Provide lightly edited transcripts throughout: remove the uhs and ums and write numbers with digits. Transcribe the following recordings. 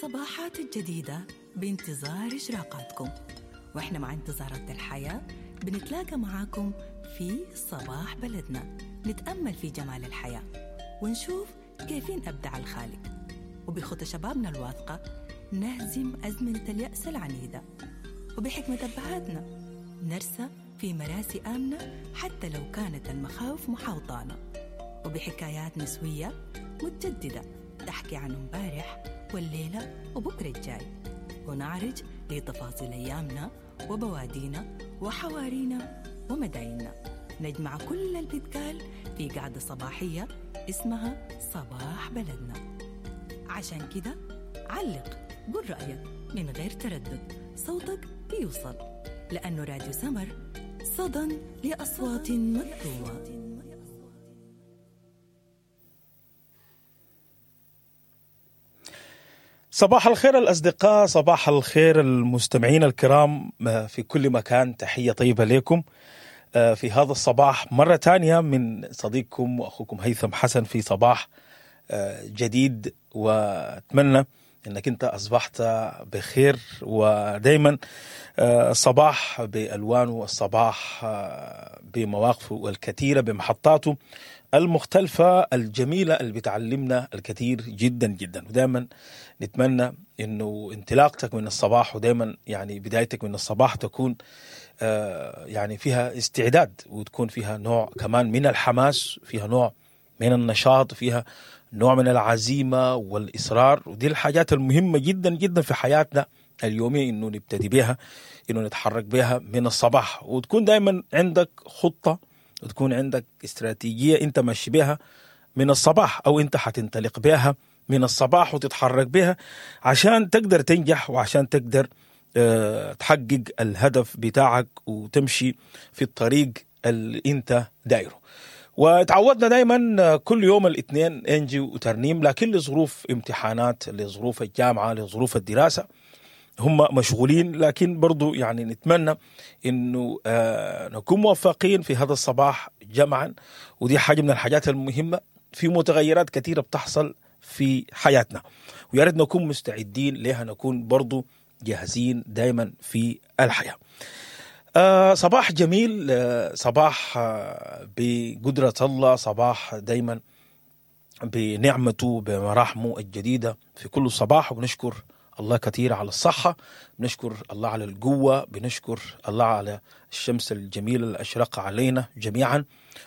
الصباحات الجديدة بانتظار إشراقاتكم، وإحنا مع انتظارات الحياة بنتلاقى معاكم في صباح بلدنا، نتأمل في جمال الحياة ونشوف كيفين أبدع الخالق، وبخطى شبابنا الواثقة نهزم أزمنة اليأس العنيدة، وبحكمة أبهاتنا نرسى في مراسي آمنة حتى لو كانت المخاوف محاوطانا، وبحكايات نسوية متجددة تحكي عن امبارح والليلة وبكرة الجاي، ونعرج لتفاصيل أيامنا وبوادينا وحوارينا ومدايننا. نجمع كل اللي بيتقال في قعدة صباحية اسمها صباح بلدنا. عشان كده علق، قول رأيك من غير تردد، صوتك بيوصل، لأنه راديو سمر صدى لأصوات مكتومة. صباح الخير الأصدقاء، صباح الخير المستمعين الكرام في كل مكان. تحية طيبة لكم في هذا الصباح مرة تانية من صديقكم وأخوكم هيثم حسن في صباح جديد، وأتمنى أنك أنت أصبحت بخير. ودايما الصباح بألوانه، الصباح بمواقفه الكثيرة، بمحطاته المختلفة الجميلة اللي بتعلمنا الكثير جدا جدا. ودائما نتمنى انه انطلاقتك من الصباح، ودائما يعني بدايتك من الصباح تكون يعني فيها استعداد، وتكون فيها نوع كمان من الحماس، فيها نوع من النشاط، فيها نوع من العزيمة والإصرار. ودي الحاجات المهمة جدا جدا في حياتنا اليومية، انه نبتدي بها، انه نتحرك بها من الصباح، وتكون دائما عندك خطة، وتكون عندك استراتيجية انت ماشي بها من الصباح، او انت حتنطلق بها من الصباح وتتحرك بها عشان تقدر تنجح، وعشان تقدر تحقق الهدف بتاعك وتمشي في الطريق اللي انت دايره. وتعودنا دايما كل يوم الاثنين انجي وترنيم، لكن لظروف امتحانات، لظروف الجامعة، لظروف الدراسة، هم مشغولين. لكن برضو يعني نتمنى انه نكون موفقين في هذا الصباح جمعا، ودي حاجة من الحاجات المهمة. في متغيرات كثيرة بتحصل في حياتنا، ويا ريت نكون مستعدين لها، نكون برضو جاهزين دايما في الحياة. صباح جميل، صباح بقدرة الله، صباح دايما بنعمته بمراحمه الجديدة في كل صباح. وبنشكر الله كثير على الصحة، بنشكر الله على القوة، بنشكر الله على الشمس الجميلة اللي أشرق علينا جميعا،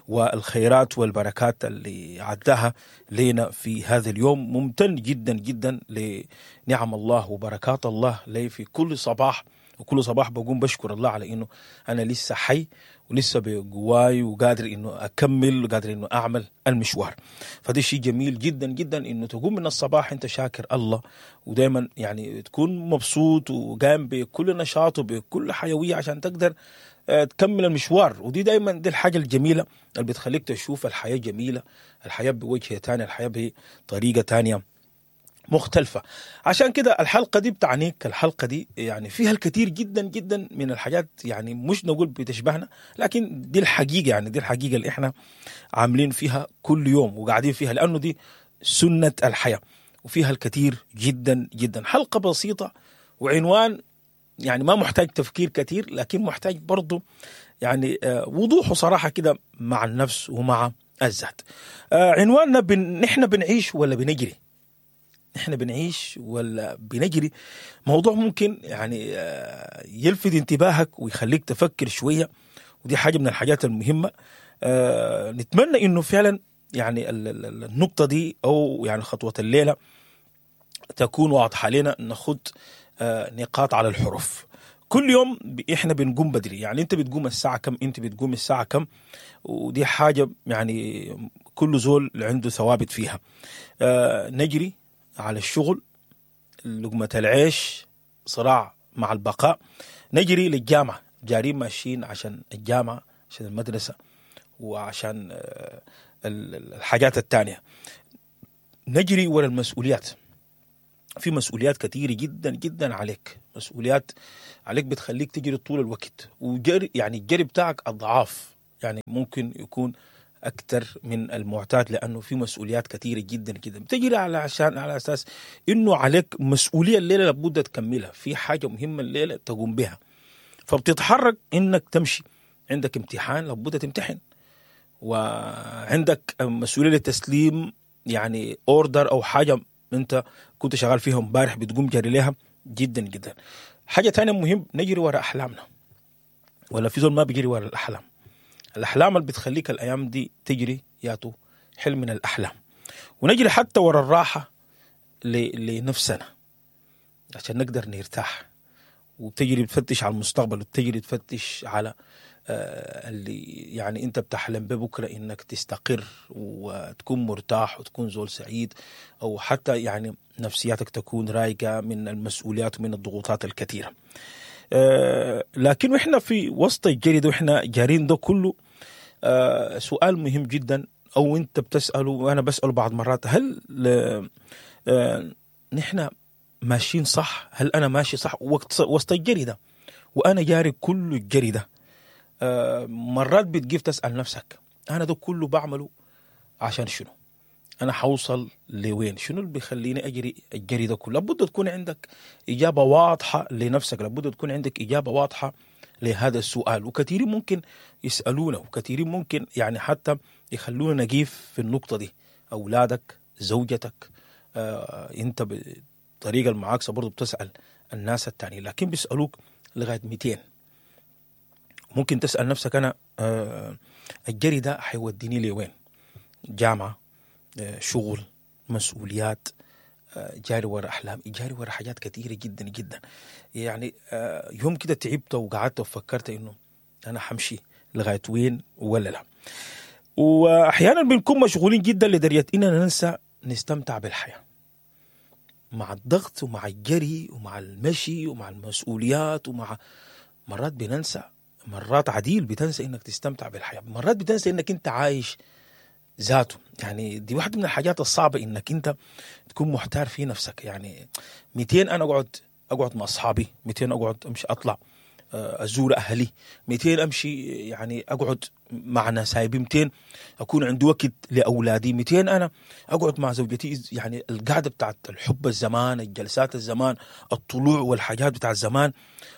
والخيرات والبركات اللي عداها لنا في هذا اليوم. ممتن جدا جدا لنعم الله وبركات الله لي في كل صباح، وكل صباح بقوم بشكر الله على إنه أنا لسه حي ولسه بقواي وقادر إنه أكمل وقادر إنه أعمل المشوار. فده شيء جميل جدا جدا إنه تقوم من الصباح أنت شاكر الله، ودايما يعني تكون مبسوط وقام بكل نشاط وبكل حيوية عشان تقدر تكمل المشوار. ودي دايما دي الحاجة الجميلة اللي بتخليك تشوف الحياة جميلة، الحياة بوجه تاني، الحياة بطريقة تانية مختلفة. عشان كده الحلقة دي بتعنيك، الحلقة دي يعني فيها الكثير جدا جدا من الحاجات، يعني مش نقول بتشبهنا، لكن دي الحقيقة، يعني دي الحقيقة اللي احنا عاملين فيها كل يوم وقاعدين فيها، لأنه دي سنة الحياة، وفيها الكثير جدا جدا. حلقة بسيطة وعنوان يعني ما محتاج تفكير كثير، لكن محتاج برضو يعني وضوح وصراحة كده مع النفس ومع الذات. عنواننا نحن بنعيش ولا بنجري؟ نحن بنعيش ولا بنجري؟ موضوع ممكن يعني يلفت انتباهك ويخليك تفكر شوية، ودي حاجة من الحاجات المهمة. نتمنى انه فعلا يعني النقطة دي او يعني خطوة الليلة تكون واضحة لنا، ناخد نقاط على الحروف. كل يوم احنا بنقوم بدري، يعني انت بتقوم الساعة كم، انت بتقوم الساعة كم، ودي حاجة يعني كل زول عنده ثوابت فيها. نجري على الشغل، لقمة العيش، صراع مع البقاء. نجري للجامعة، جارين ماشيين عشان الجامعة، عشان المدرسة، وعشان الحاجات التانية. نجري ورا المسؤوليات، في مسؤوليات كثيرة جدا جدا عليك، مسؤوليات عليك بتخليك تجري طول الوقت، وجري يعني الجري بتاعك أضعاف، يعني ممكن يكون اكثر من المعتاد، لانه في مسؤوليات كثيرة جدا جدا بتجري على عشان على اساس انه عليك مسؤولية الليلة لابد تكملها، في حاجة مهمة الليلة تقوم بها، فبتتحرك انك تمشي. عندك امتحان لابد تمتحن، وعندك مسؤولية للتسليم يعني order او حاجة انت كنت شغال فيها امبارح بتقوم جري لها جدا جدا. حاجة ثانية مهم، نجري وراء احلامنا، ولا في زول ما بيجري وراء الاحلام؟ الاحلام اللي بتخليك الايام دي تجري ياتو حلم من الاحلام. ونجري حتى وراء الراحة لنفسنا عشان نقدر نرتاح. وبتجري بتفتش على المستقبل، وبتجري تفتش على اللي يعني انت بتحلم ببكره انك تستقر وتكون مرتاح وتكون زول سعيد، او حتى يعني نفسياتك تكون رايقة من المسؤوليات ومن الضغوطات الكثيرة. لكن واحنا في وسط الجري ده، واحنا جارين ده كله، سؤال مهم جدا او انت بتساله وانا بساله بعض مرات، هل نحن ماشيين صح؟ هل انا ماشي صح وسط الجري ده وانا جاري كل الجري ده؟ مرات بتجيب تسأل نفسك أنا ده كله بعمله عشان شنو؟ أنا حوصل لوين؟ شنو اللي بيخليني أجري الجري ده كله؟ لابد تكون عندك إجابة واضحة لنفسك، لابد تكون عندك إجابة واضحة لهذا السؤال. وكثيرين ممكن يسألونا، وكثيرين ممكن يعني حتى يخلونا نقيف في النقطة دي. أولادك، زوجتك، أنت بالطريقة المعاكسة برضو بتسأل الناس التانيين، لكن بيسألوك لغاية 200. ممكن تسأل نفسك أنا الجري ده حيوديني لوين؟ جامعة، شغل، مسؤوليات، جاري ورا أحلام، جاري ورا حاجات كثيرة جدا جدا. يعني يوم كده تعبت وقعدت وفكرت إنه أنا حمشي لغاية وين ولا لا. وأحيانا بنكون مشغولين جدا لدرجة إننا ننسى نستمتع بالحياة. مع الضغط ومع الجري ومع المشي ومع المسؤوليات ومع مرات بننسى، مرات عديل بتنسى انك تستمتع بالحياة، مرات بتنسى انك انت عايش ذاته. يعني دي واحدة من الحاجات الصعبة، انك انت تكون محتار في نفسك. يعني 200 انا اقعد مع اصحابي، 200 اقعد امشي اطلع ازور اهلي، 200 امشي يعني اقعد مع نسايبي، 200 اكون عندي وقت لاولادي، 200 انا اقعد مع زوجتي. يعني القعدة بتاعت الحب الزمان، الجلسات الزمان، الطلوع والحاجات بتاع الزمان.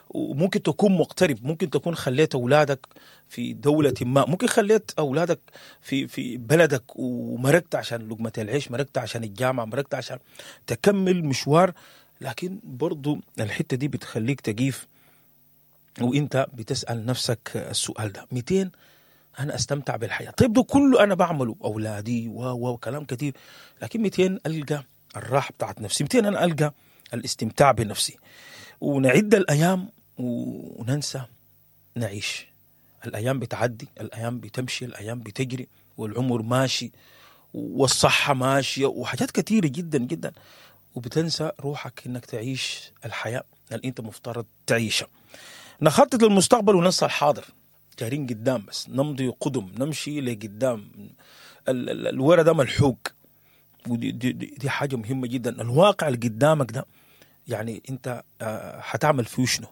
وممكن تكون مغترب، ممكن تكون خليت اولادك في دولة ما، ممكن خليت اولادك في بلدك ومرقت عشان لقمة العيش، مرقت عشان الجامعة، مرقت عشان تكمل مشوار. لكن برضو الحتة دي بتخليك تقيف وانت بتسأل نفسك السؤال ده، 200 انا استمتع بالحياة؟ طيب ده كله انا بعمله، اولادي وكلام كثير، لكن 200 القى الراحة بتاعت نفسي، 200 انا القى الاستمتاع بنفسي. ونعد الايام وننسى نعيش. الايام بتعدي، الايام بتمشي، الايام بتجري، والعمر ماشي والصحة ماشية وحاجات كثيرة جدا جدا، وبتنسى روحك انك تعيش الحياة اللي انت مفترض تعيشها. نخطط للمستقبل وننسى الحاضر، جارين قدام بس، نمضي قدم، نمشي لقدام، الورا ده ملحوق. ودي دي دي دي حاجة مهمة جدا. الواقع اللي قدامك ده يعني انت حتعمل فيه شنو؟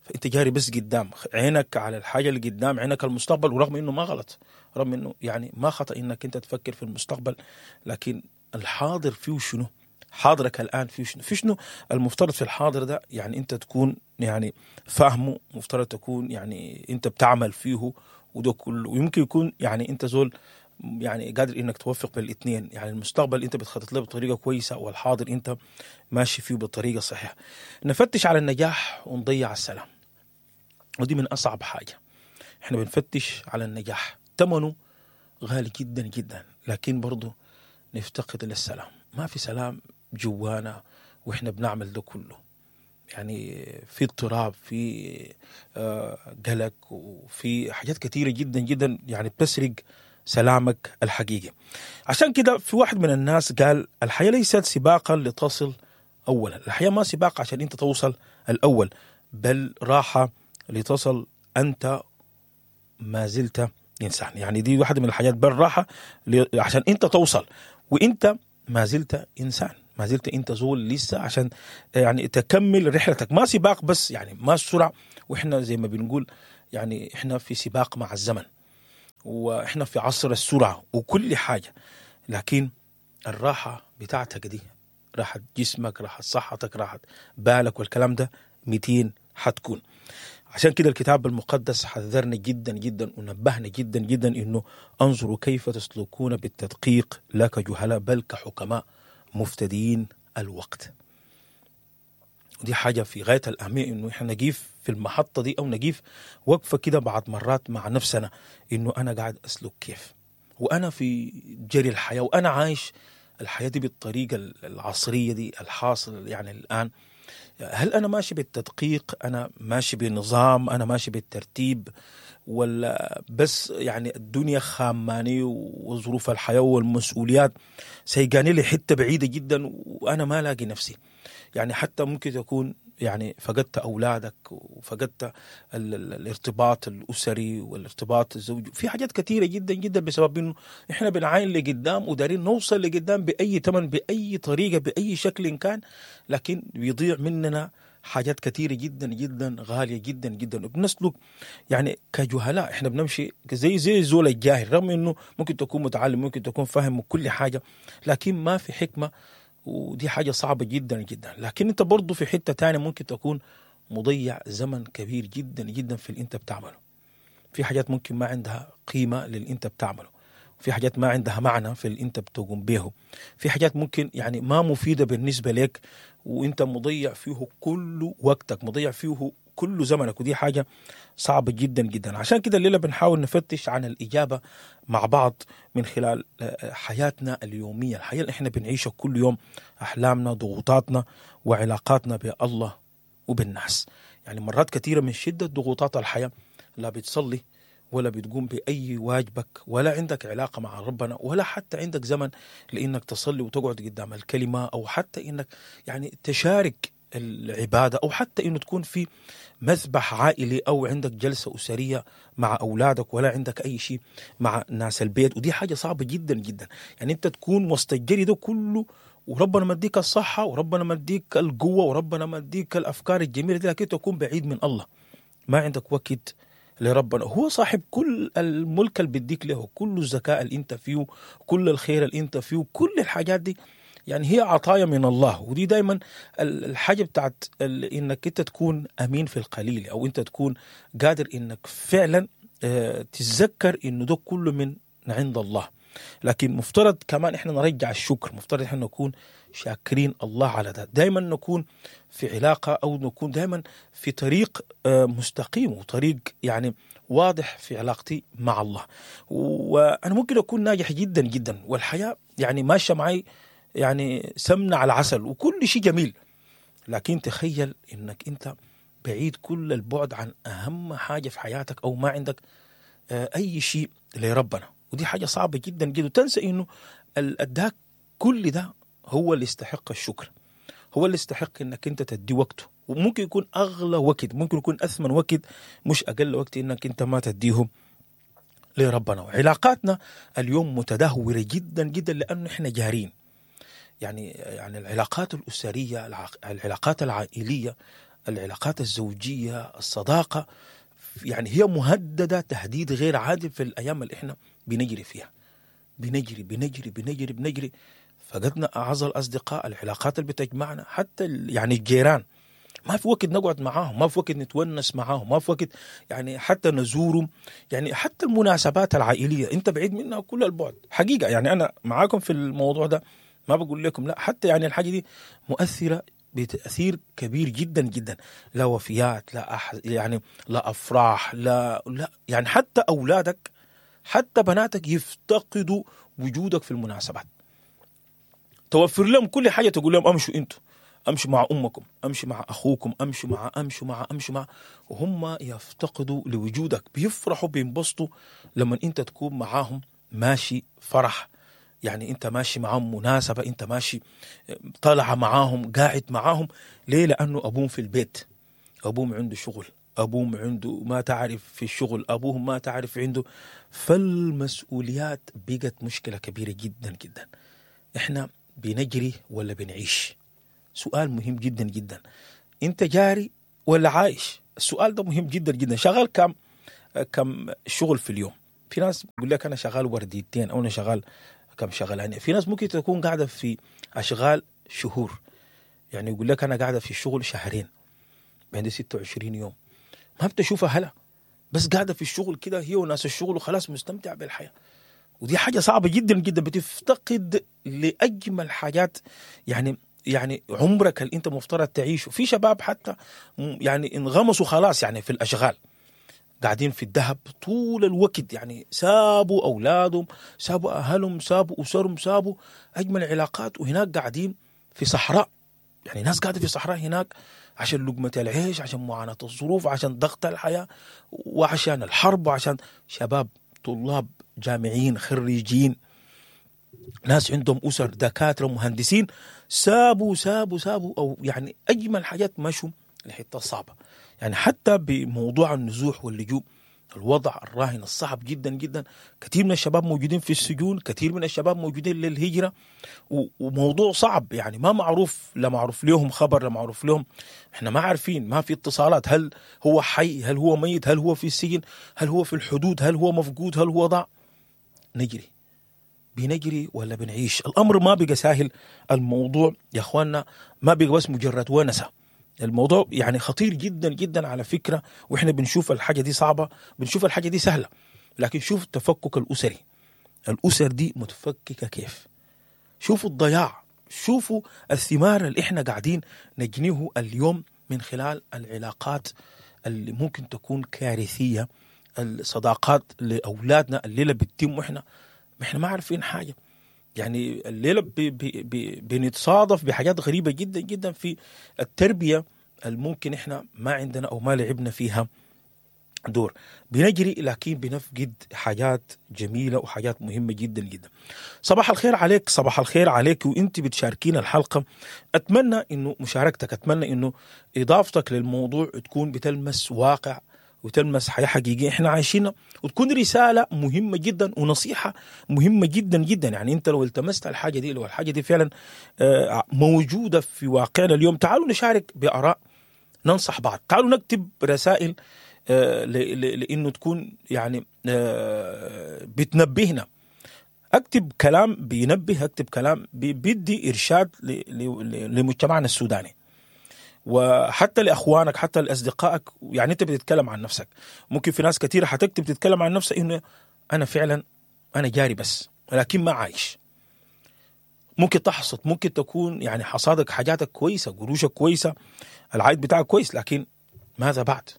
فانت جاري بس قدام، عينك على الحاجة اللي قدام، عينك المستقبل. ورغم انه ما غلط، رغم انه يعني ما خطأ انك انت تفكر في المستقبل، لكن الحاضر فيه شنو؟ حاضرك الآن فيه شنو؟ في شنو المفترض في الحاضر ده يعني انت تكون يعني فاهمه، مفترض تكون يعني انت بتعمل فيه وده كله. ويمكن يكون يعني انت زول يعني قادر انك توفق بين الاثنين، يعني المستقبل انت بتخطط له بطريقة كويسة، والحاضر انت ماشي فيه بطريقة صحيحه. نفتش على النجاح ونضيع السلام، ودي من اصعب حاجة. احنا بنفتش على النجاح، ثمنه غالي جدا جدا، لكن برضه نفتقد للسلام. ما في سلام جوانا واحنا بنعمل ده كله، يعني في اضطراب، في قلق، وفي حاجات كثيرة جدا جدا يعني بتسرق سلامك الحقيقي. عشان كده في واحد من الناس قال الحياة ليست سباقا لتصل أولا. الحياة ما سباق عشان أنت توصل الأول، بل راحة لتصل أنت ما زلت إنسان. يعني دي واحدة من الحاجات، بل راحة عشان أنت توصل وأنت ما زلت إنسان، ما زلت أنت زول لسه، عشان يعني تكمل رحلتك. ما سباق بس، يعني ما السرعة، وإحنا زي ما بنقول يعني إحنا في سباق مع الزمن. واحنا في عصر السرعة وكل حاجة، لكن الراحة بتاعتك دي، راحة جسمك، راحة صحتك، راحة بالك والكلام ده 200 حتكون. عشان كده الكتاب المقدس حذرنا جدا جدا ونبهنا جدا جدا انه انظروا كيف تسلكون بالتدقيق، لا كجهلاء بل كحكماء مفتدين الوقت. ودي حاجة في غاية الأهمية، إنه إحنا نقيف في المحطة دي أو نقيف وقفة كده بعد مرات مع نفسنا، إنه أنا قاعد أسلك كيف، وأنا في جري الحياة، وأنا عايش الحياة دي بالطريقة العصرية دي الحاصل يعني الآن. هل أنا ماشي بالتدقيق؟ أنا ماشي بنظام؟ أنا ماشي بالترتيب؟ ولا بس يعني الدنيا خاماني وظروف الحياة والمسؤوليات سيقاني لي حتة بعيدة جدا وأنا ما لاقي نفسي؟ يعني حتى ممكن تكون يعني فقدت أولادك وفقدت الارتباط الأسري والارتباط الزوجي، في حاجات كثيرة جدا جدا بسبب إنه إحنا بنعاين لقدام ودارين نوصل لقدام بأي ثمن، بأي طريقة، بأي شكل كان، لكن بيضيع مننا حاجات كثيرة جدا جدا غالية جدا جدا، وبنسلك يعني كجهلاء. إحنا بنمشي زي زول الجاهل، رغم إنه ممكن تكون متعلم، ممكن تكون فاهم كل حاجة، لكن ما في حكمة، ودي حاجة صعبة جدا جدا. لكن انت برضو في حتة تانية ممكن تكون مضيع زمن كبير جدا جدا في اللي انت بتعمله. في حاجات ممكن ما عندها قيمة للي انت بتعمله، في حاجات ما عندها معنى في اللي انت بتقوم به، في حاجات ممكن يعني ما مفيدة بالنسبة لك وانت مضيع فيه كل وقتك، مضيع فيه كل زمنك، ودي حاجة صعبة جدا جدا. عشان كده الليلة بنحاول نفتش عن الإجابة مع بعض من خلال حياتنا اليومية، الحياة اللي احنا بنعيشها كل يوم، أحلامنا، ضغوطاتنا، وعلاقاتنا بالله وبالناس. يعني مرات كثيرة من شدة ضغوطات الحياة لا بتصلي ولا بتقوم بأي واجبك، ولا عندك علاقة مع ربنا، ولا حتى عندك زمن لإنك تصلي وتقعد قدام الكلمة، أو حتى إنك يعني تشارك العبادة، أو حتى إنه تكون في مذبح عائلي أو عندك جلسة أسرية مع أولادك، ولا عندك أي شيء مع ناس البيت. ودي حاجة صعبة جدا جدا، يعني أنت تكون وسط الجري ده كله وربنا مديك الصحة وربنا مديك القوة وربنا مديك الأفكار الجميلة دي، لكن تكون بعيد من الله، ما عندك وقت لربنا. هو صاحب كل الملك اللي بيديك له، كل الذكاء اللي انت فيه، كل الخير اللي انت فيه، كل الحاجات دي يعني هي عطايا من الله. ودي دايما الحاجة بتاعت انك انت تكون امين في القليل، او انت تكون قادر انك فعلا تتذكر انه ده كله من عند الله. لكن مفترض كمان احنا نرجع الشكر، مفترض احنا نكون شاكرين الله على ده، دايما نكون في علاقة او نكون دايما في طريق مستقيم وطريق يعني واضح في علاقتي مع الله. وانا ممكن اكون ناجح جدا جدا والحياة يعني ماشية معي يعني سمنة على عسل وكل شيء جميل، لكن تخيل انك انت بعيد كل البعد عن اهم حاجة في حياتك، او ما عندك اي شيء لربنا. ودي حاجة صعبة جدا جدا، وتنسى انه اداك كل ده هو اللي يستحق الشكر، هو اللي يستحق انك انت تدي وقته، وممكن يكون اغلى وقت، ممكن يكون اثمن وقت، مش اقل وقت انك انت ما تديه لربنا. وعلاقاتنا اليوم متدهورة جدا جدا لانه احنا جارين، يعني العلاقات الأسرية، العلاقات العائلية، العلاقات الزوجية، الصداقة، يعني هي مهددة تهديد غير عادي في الأيام اللي احنا بنجري فيها. بنجري بنجري بنجري بنجري، فقدنا أعز الأصدقاء، العلاقات اللي بتجمعنا، حتى يعني الجيران ما في وقت نقعد معاهم، ما في وقت نتونس معاهم، ما في وقت يعني حتى نزورهم، يعني حتى المناسبات العائلية انت بعيد منها كل البعد حقيقة. يعني أنا معاكم في الموضوع ده، ما بقول لكم لا، حتى يعني الحاجة دي مؤثرة بتأثير كبير جدا جدا، لا وفيات، لا يعني لا أفراح، لا لا، يعني حتى أولادك حتى بناتك يفتقدوا وجودك في المناسبات. توفر لهم كل حاجة، تقول لهم أمشوا أنتوا، أمشوا مع أمكم، أمشوا مع أخوكم، أمشوا مع أمشوا مع أمشوا مع، وهم يفتقدوا لوجودك، بيفرحوا بينبسطوا لما أنت تكون معاهم ماشي فرح، يعني أنت ماشي معاهم مناسبة، أنت ماشي طالع معاهم، قاعد معاهم. ليه؟ لأنه أبوهم في البيت، أبوهم عنده شغل، أبوهم عنده ما تعرف في الشغل، أبوهم ما تعرف عنده. فالمسؤوليات بقت مشكلة كبيرة جدا جدا. إحنا بنجري ولا بنعيش؟ سؤال مهم جدا جدا. أنت جاري ولا عايش؟ السؤال ده مهم جدا جدا. شغال كم شغل في اليوم؟ في ناس بيقول لك انا شغال ورديتين او انا شغال كم شغلانيه. في ناس ممكن تكون قاعدة في اشغال شهور، يعني يقول لك انا قاعدة في الشغل شهرين، عندي 26 يوم ما بتشوفها هلا، بس قاعدة في الشغل كده هي وناس الشغل وخلاص مستمتع بالحياة. ودي حاجة صعبة جدا جدا، بتفتقد لاجمل حاجات يعني عمرك اللي انت مفترض تعيشه. في شباب حتى يعني انغمسوا خلاص يعني في الاشغال، قاعدين في الذهب طول الوقت، يعني سابوا اولادهم، سابوا اهلهم، سابوا اسرهم، سابوا اجمل علاقات، وهناك قاعدين في صحراء. يعني ناس قاعدة في صحراء هناك عشان لقمة العيش، عشان معاناة الظروف، عشان ضغط الحياة، وعشان الحرب، وعشان شباب طلاب جامعيين خريجين، ناس عندهم اسر، دكاترة، مهندسين، سابوا سابوا سابوا او يعني اجمل حاجات مشوا لحته صعبة. يعني حتى بموضوع النزوح واللجوء، الوضع الراهن الصعب جدا جدا، كثير من الشباب موجودين في السجون، كثير من الشباب موجودين للهجرة، وموضوع صعب يعني ما معروف، لا معروف لهم خبر، لا معروف لهم، احنا ما عارفين، ما في اتصالات، هل هو حي، هل هو ميت، هل هو في السجن، هل هو في الحدود، هل هو مفقود، هل هو ضاع. نجري بنجري ولا بنعيش؟ الامر ما بقى سهل. الموضوع يا اخواننا ما بقى بس مجرد ونسه، الموضوع يعني خطير جدا جدا على فكرة. واحنا بنشوف الحاجة دي صعبة، بنشوف الحاجة دي سهلة، لكن شوف التفكك الاسري، الاسر دي متفككه كيف، شوفوا الضياع، شوفوا الثمار اللي احنا قاعدين نجنيه اليوم من خلال العلاقات اللي ممكن تكون كارثية، الصداقات لاولادنا الليلة بتتم واحنا ما عارفين حاجة. يعني الليلة بي بي بي بنتصادف بحاجات غريبة جدا جدا في التربية الممكن احنا ما عندنا او ما لعبنا فيها دور. بنجري لكن بنفقد حاجات جميلة وحاجات مهمة جدا جدا. صباح الخير عليك، صباح الخير عليك وانت بتشاركينا الحلقة. اتمنى انه مشاركتك، اتمنى انه اضافتك للموضوع تكون بتلمس واقع وتلمس حياة حقيقية احنا عايشينها، وتكون رسالة مهمة جدا ونصيحة مهمة جدا جدا. يعني انت لو التمست الحاجة دي، لو الحاجة دي فعلا موجودة في واقعنا اليوم، تعالوا نشارك بآراء، ننصح بعض، تعالوا نكتب رسائل لانه تكون يعني بتنبهنا. اكتب كلام بينبه، اكتب كلام بيدي ارشاد لمجتمعنا السوداني، وحتى لاخوانك، حتى لاصدقائك. يعني انت بتتكلم عن نفسك، ممكن في ناس كثيرة حتكتب تتكلم عن نفسها انه انا فعلا انا جاري بس ولكن ما عايش. ممكن تحصد، ممكن تكون يعني حصادك حاجاتك كويسة، قروشك كويسة، العائد بتاعك كويس، لكن ماذا بعد؟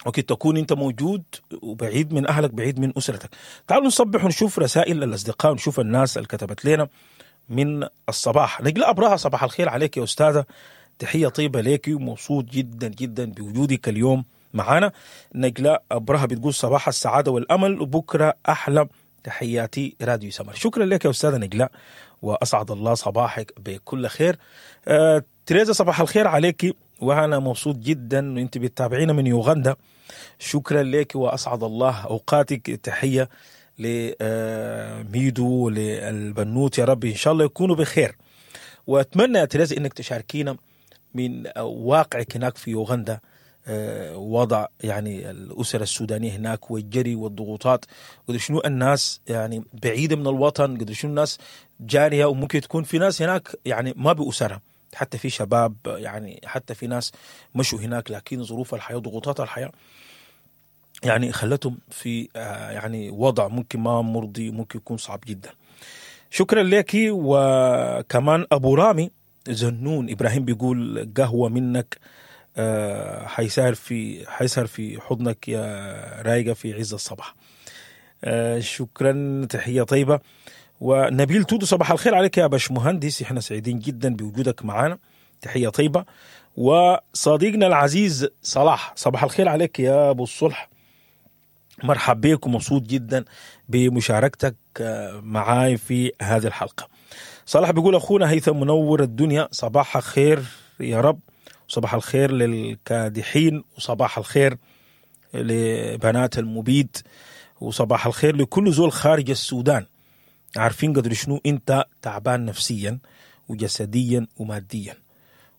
ممكن تكون انت موجود وبعيد من اهلك، بعيد من اسرتك. تعالوا نصبح ونشوف رسائل الاصدقاء ونشوف الناس اللي كتبت لنا من الصباح. نجلاء ابراهه، صباح الخير عليك يا استاذه، تحية طيبة ليك ومبسوط جدا جدا بوجودك اليوم معانا. نجلاء أبرهة بتقول صباح السعادة والأمل وبكرة أحلى، تحياتي راديو سمر. شكرا لك يا أستاذة نجلاء وأسعد الله صباحك بكل خير. تريزا صباح الخير عليك، وأنا مبسوط جدا وأنت بتتابعينا من يوغندا. شكرا لك وأسعد الله أوقاتك. تحية لميدو للبنوت، يا رب إن شاء الله يكونوا بخير. وأتمنى يا تريزا إنك تشاركينا من واقعك هناك في يوغندا، وضع يعني الأسر السودانية هناك والجري والضغوطات، قدر شنو الناس يعني بعيدة من الوطن، قدر شنو الناس جارية، وممكن تكون في ناس هناك يعني ما بأسرها، حتى في شباب يعني حتى في ناس مشوا هناك لكن ظروف الحياة وضغوطات الحياة يعني خلتهم في يعني وضع ممكن ما مرضي، ممكن يكون صعب جدا. شكرا لك. وكمان أبو رامي زنون إبراهيم بيقول قهوة منك حيسهر في حضنك يا رايقة في عز الصباح. شكرا، تحية طيبة. ونبيل تودو صباح الخير عليك يا باش مهندس، احنا سعيدين جدا بوجودك معنا، تحية طيبة. وصديقنا العزيز صلاح صباح الخير عليك يا أبو الصلح، مرحب بك ومبسوط جدا بمشاركتك معاي في هذه الحلقة. صلاح بيقول أخونا هيثم منور الدنيا، صباح خير يا رب، صباح الخير للكادحين، وصباح الخير لبنات المبيد، وصباح الخير لكل زول خارج السودان. عارفين قدر شنو انت تعبان نفسيا وجسديا وماديا،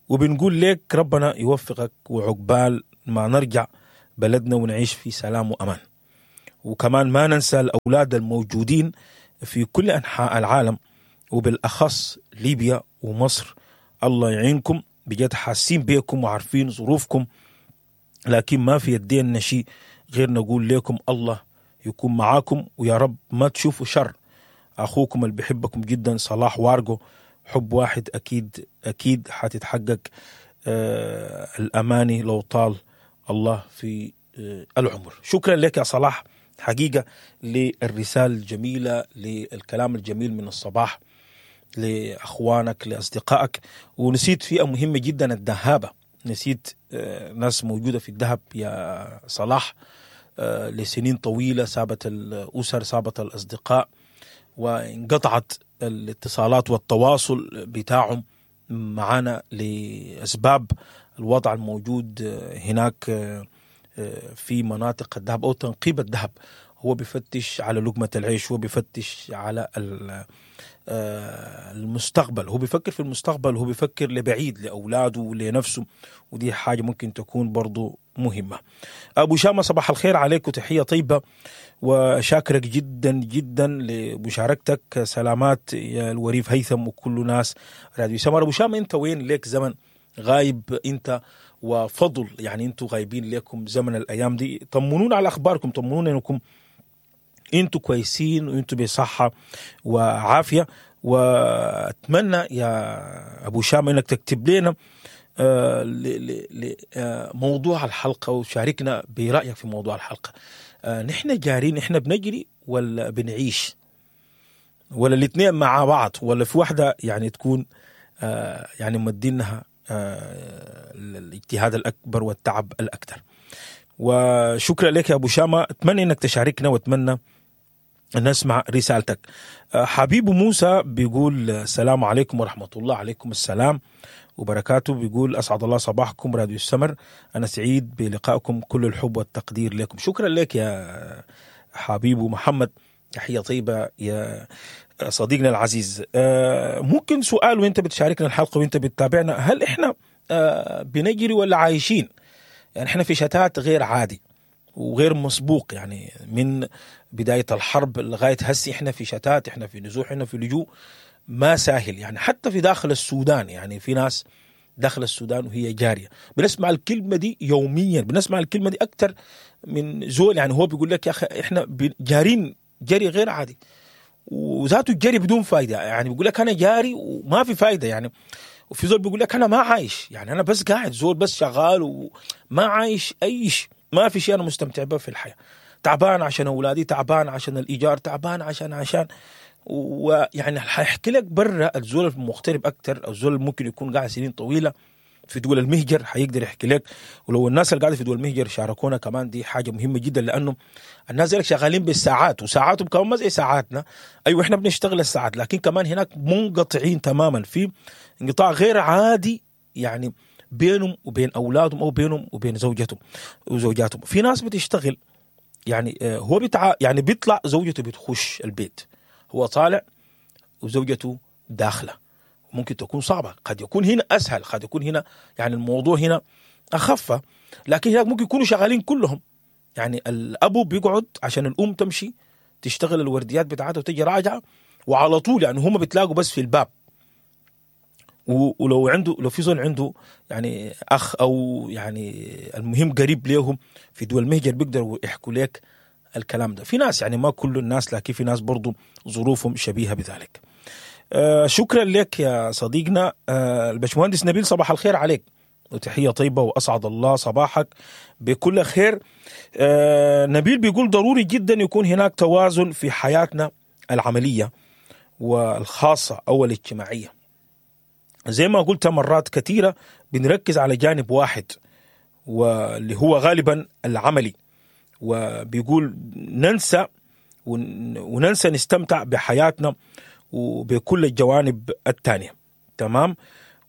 وبنقول لك ربنا يوفقك وعقبال ما نرجع بلدنا ونعيش في سلام وأمان. وكمان ما ننسى الأولاد الموجودين في كل أنحاء العالم، وبالأخص ليبيا ومصر. الله يعينكم، بجد حاسين بيكم وعارفين ظروفكم، لكن ما في يدينا شيء غير نقول لكم الله يكون معاكم، ويا رب ما تشوفوا شر. أخوكم اللي بحبكم جدا صلاح وارجو. حب واحد أكيد أكيد حتتحقق الأماني لو طال الله في العمر. شكرا لك يا صلاح حقيقة للرسالة الجميلة، للكلام الجميل من الصباح لأخوانك لأصدقائك. ونسيت فئة مهمة جدا، الذهابة. نسيت ناس موجودة في الذهب يا صلاح لسنين طويلة، سابت الأسر، سابت الأصدقاء، وانقطعت الاتصالات والتواصل بتاعهم معانا لأسباب الوضع الموجود هناك في مناطق الذهب أو تنقيب الذهب. هو بيفتش على لقمة العيش، هو بيفتش على المستقبل، هو بيفكر في المستقبل، هو بيفكر لبعيد لأولاده ولنفسه، ودي حاجة ممكن تكون برضو مهمة. أبو شامة صباح الخير عليك وتحية طيبة، وشاكرك جدا جدا لمشاركتك. سلامات يا الوريف هيثم وكل ناس راديو سمر. أبو شامة أنت وين ليك زمن غايب أنت وفضل، يعني أنتوا غايبين ليكم زمن الأيام دي. طمنونا على أخباركم، طمنونا أنكم أنتوا كويسين وأنتوا بصحة وعافية. وأتمنى يا أبو شامة أنك تكتب لنا موضوع الحلقة وشاركنا برأيك في موضوع الحلقة. نحن جارين، نحن بنجري ولا بنعيش، ولا الاثنين مع بعض، ولا في واحدة يعني تكون يعني مدينها الاجتهاد الأكبر والتعب الأكثر. وشكرا لك يا أبو شامة، أتمنى أنك تشاركنا وأتمنى أن نسمع رسالتك. حبيب موسى بيقول السلام عليكم ورحمة الله. عليكم السلام وبركاته. بيقول أسعد الله صباحكم راديو السمر، أنا سعيد بلقائكم، كل الحب والتقدير لكم. شكرا لك يا حبيب محمد، تحية طيبة يا صديقنا العزيز. ممكن سؤال وانت بتشاركنا الحلقة وانت بتتابعنا، هل احنا بنجري ولا عايشين؟ يعني احنا في شتات غير عادي وغير مسبوق، يعني من بداية الحرب لغاية هسي احنا في شتات، احنا في نزوح، احنا في لجوء ما ساهل. يعني حتى في داخل السودان، يعني في ناس داخل السودان وهي جارية، بنسمع الكلمة دي يوميا، بنسمع الكلمة دي أكتر من زول. يعني هو بيقول لك يا أخي احنا جارين جري غير عادي، وذاته الجري بدون فايدة. يعني بيقول لك أنا جاري وما في فايدة يعني. وفي زول بيقول لك أنا ما عايش، يعني أنا بس قاعد زول بس شغال وما عايش أي شيء، ما في شيء أنا مستمتع به في الحياة، تعبان عشان أولادي، تعبان عشان الإيجار، تعبان عشان ويعني حيحكي لك برا الزول المغترب أكتر، أو الزول ممكن يكون قاعد سنين طويلة في دول المهجر حيقدر يحكي لك. ولو الناس اللي قاعدة في دول المهجر شاركونا كمان، دي حاجة مهمة جدا، لأنه الناس اللي شغالين بالساعات، وساعاتهم كمان ما زي ساعاتنا. أيوة إحنا بنشتغل الساعات، لكن كمان هناك منقطعين تماما، في انقطاع غير عادي يعني بينهم وبين أولادهم أو بينهم وبين زوجتهم وزوجاتهم. في ناس بتشتغل يعني هو يعني بيطلع زوجته بتخش البيت، هو طالع وزوجته داخلة. ممكن تكون صعبة، قد يكون هنا أسهل، قد يكون هنا يعني الموضوع هنا أخف، لكن هناك ممكن يكونوا شغالين كلهم. يعني الأبو بيقعد عشان الأم تمشي تشتغل الورديات بتاعتها وتجي راجعة، وعلى طول يعني هم بتلاقوا بس في الباب. ولو عنده، لو في زول عنده يعني أخ أو يعني المهم قريب ليهم في دول المهجر بيقدروا يحكوا لك الكلام ده. في ناس يعني ما كل الناس، لكن في ناس برضو ظروفهم شبيهة بذلك. شكرا لك يا صديقنا الباشمهندس نبيل، صباح الخير عليك وتحية طيبة، وأسعد الله صباحك بكل خير. نبيل بيقول ضروري جدا يكون هناك توازن في حياتنا العملية والخاصة أو الاجتماعية. زي ما قلت مرات كثيرة بنركز على جانب واحد واللي هو غالبا العملي، وبيقول ننسى وننسى نستمتع بحياتنا وبكل الجوانب الثانية. تمام.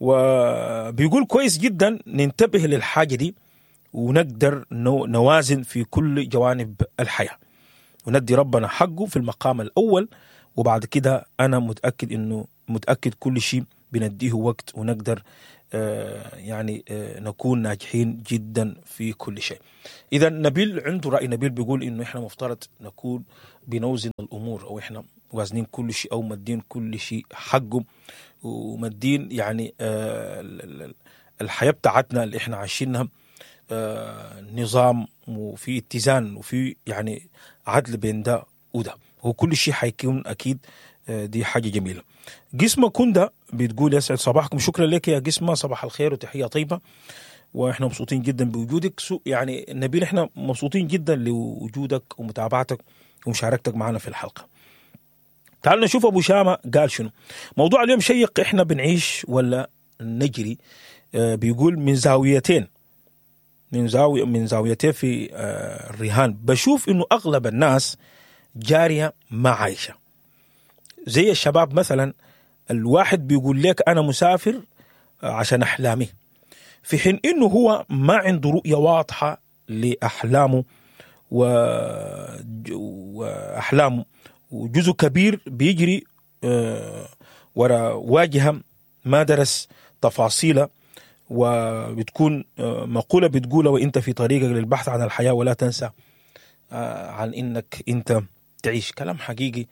وبيقول كويس جدا ننتبه للحاجة دي ونقدر نوازن في كل جوانب الحياة وندي ربنا حقه في المقام الأول، وبعد كده أنا متأكد إنه متأكد كل شيء بنديه وقت ونقدر يعني نكون ناجحين جدا في كل شيء. اذا نبيل عنده راي، نبيل بيقول انه احنا مفترض نكون بنوزن الامور، او احنا وازنين كل شيء، او مدين كل شيء حقه، ومدين يعني الحياة بتاعتنا اللي احنا عايشينها نظام وفي اتزان وفي يعني عدل بين ده وده، وكل شيء حيكون اكيد. دي حاجة جميلة. قسمه كندا بتقول يسعد صباحكم. شكرا لك يا قسمه، صباح الخير وتحية طيبة، واحنا مبسوطين جدا بوجودك. يعني نبيل احنا مبسوطين جدا لوجودك ومتابعتك ومشاركتك معنا في الحلقة. تعالوا نشوف ابو شامة قال شنو. موضوع اليوم شيق، احنا بنعيش ولا نجري؟ بيقول من زاويتين، من زاويتين في الرهان. بشوف انه اغلب الناس جارية ما عايشه. زي الشباب مثلا، الواحد بيقول لك انا مسافر عشان احلامي، في حين انه هو ما عنده رؤية واضحة لاحلامه واحلامه، وجزء كبير بيجري ورا واجهه ما درس تفاصيلها، وبتكون مقولة بتقولها وانت في طريقك للبحث عن الحياة، ولا تنسى عن انك انت تعيش. كلام حقيقي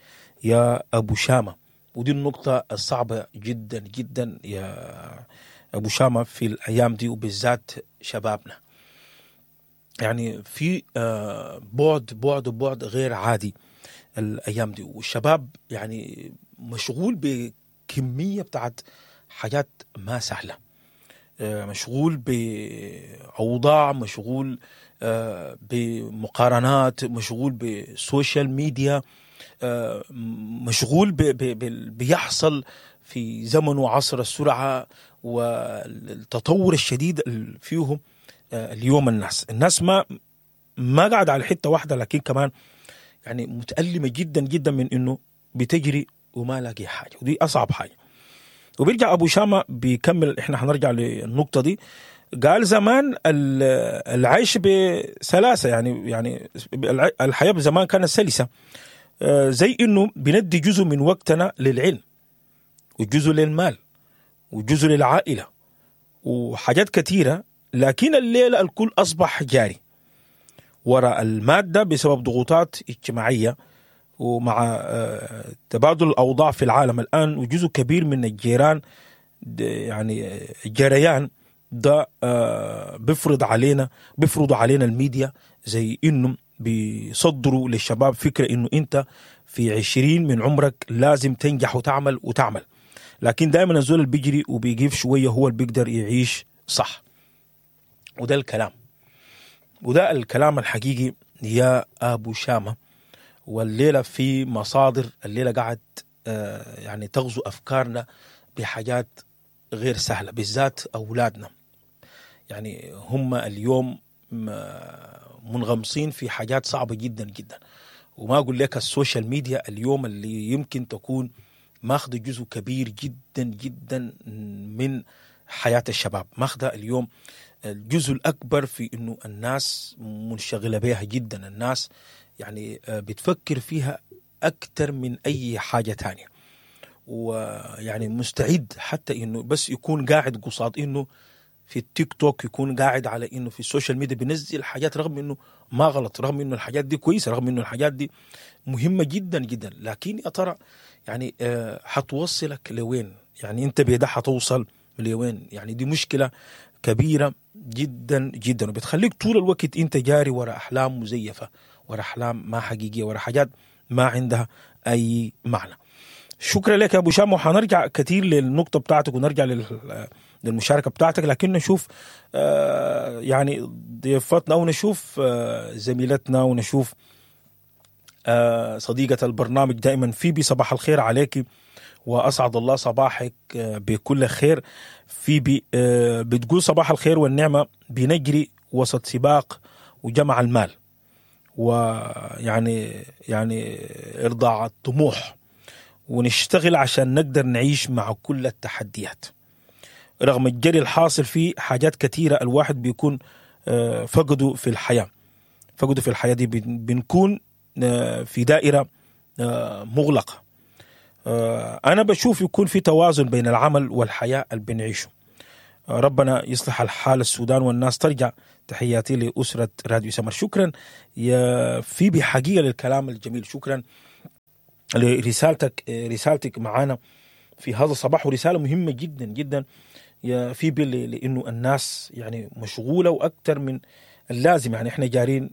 يا ابو شامة، ودي النقطة الصعبة جدا جدا يا ابو شامة في الايام دي، وبالذات شبابنا. يعني في بعد بعد بعد غير عادي الايام دي، والشباب يعني مشغول بكمية بتاعت حاجات ما سهلة، مشغول باوضاع، مشغول بمقارنات، مشغول ب social media، مشغول بيحصل في زمن وعصر السرعة والتطور الشديد اللي فيهم اليوم. الناس ما قاعدة على حتة واحدة، لكن كمان يعني متألمة جدا جدا من انه بتجري وما لاقي حاجة، ودي اصعب حاجة. وبيرجع ابو شامة بيكمل، احنا حنرجع للنقطة دي. قال زمان العيش بسلاسة، يعني الحياة زمان كانت سلسة، زي انه بندي جزء من وقتنا للعلم، وجزء للمال، وجزء للعائلة، وحاجات كثيرة. لكن الليلة الكل أصبح جاري وراء المادة بسبب ضغوطات اجتماعية، ومع تبادل الأوضاع في العالم الآن، وجزء كبير من الجيران يعني الجريان ده بيفرض علينا الميديا، زي إنه بيصدروا للشباب فكرة إنه أنت في 20 من عمرك لازم تنجح وتعمل وتعمل، لكن دائما الزول اللي بيجري وبيجيب شوية هو اللي بيقدر يعيش صح. وده الكلام، وده الكلام الحقيقي يا أبو شامة. والليلة في مصادر الليلة قاعد يعني تغزو أفكارنا بحاجات غير سهلة، بالذات أولادنا. يعني هم اليوم منغمسين في حاجات صعبة جدا جدا، وما أقول لك ال social media اليوم اللي يمكن تكون ماخذ جزء كبير جدا جدا من حياة الشباب، ماخذ اليوم الجزء الأكبر في إنه الناس منشغلة بها جدا، الناس يعني بتفكر فيها أكثر من أي حاجة تانية، ويعني مستعد حتى إنه بس يكون قاعد قصاد إنه في التيك توك، يكون قاعد على إنه في ال social media بينزل حاجات، رغم إنه ما غلط، رغم إنه الحاجات دي كويسة، رغم إنه الحاجات دي مهمة جدا جدا، لكن يا ترى يعني حتوصلك لوين؟ يعني أنت بيدا حتوصل لوين؟ يعني دي مشكلة كبيرة جدا جدا، وبتخليك طول الوقت أنت جاري وراء أحلام مزيفة، وراء أحلام ما حقيقية، وراء حاجات ما عندها أي معنى. شكرا لك يا أبو شام، وحنرجع كثير للنقطة بتاعتك ونرجع للمشاركة بتاعتك، لكن نشوف يعني ضيفتنا أو نشوف زميلتنا ونشوف صديقة البرنامج دائما فيبي. صباح الخير عليك وأسعد الله صباحك بكل خير. فيبي بتقول صباح الخير والنعمة، بنجري وسط سباق وجمع المال، ويعني يعني إرضاء الطموح، ونشتغل عشان نقدر نعيش مع كل التحديات. رغم الجري الحاصل فيه حاجات كثيرة الواحد بيكون فقده في الحياة، فقده في الحياة دي، بنكون في دائرة مغلقة. انا بشوف يكون في توازن بين العمل والحياة اللي بنعيشه. ربنا يصلح الحال السودان والناس ترجع. تحياتي لأسرة راديو سمر. شكرا يا فيبي حقيقة للكلام الجميل، شكرا لرسالتك، رسالتك معانا في هذا الصباح، ورسالة مهمة جدا جدا يا فيبي، لأنه الناس يعني مشغولة وأكثر من اللازم، يعني احنا جارين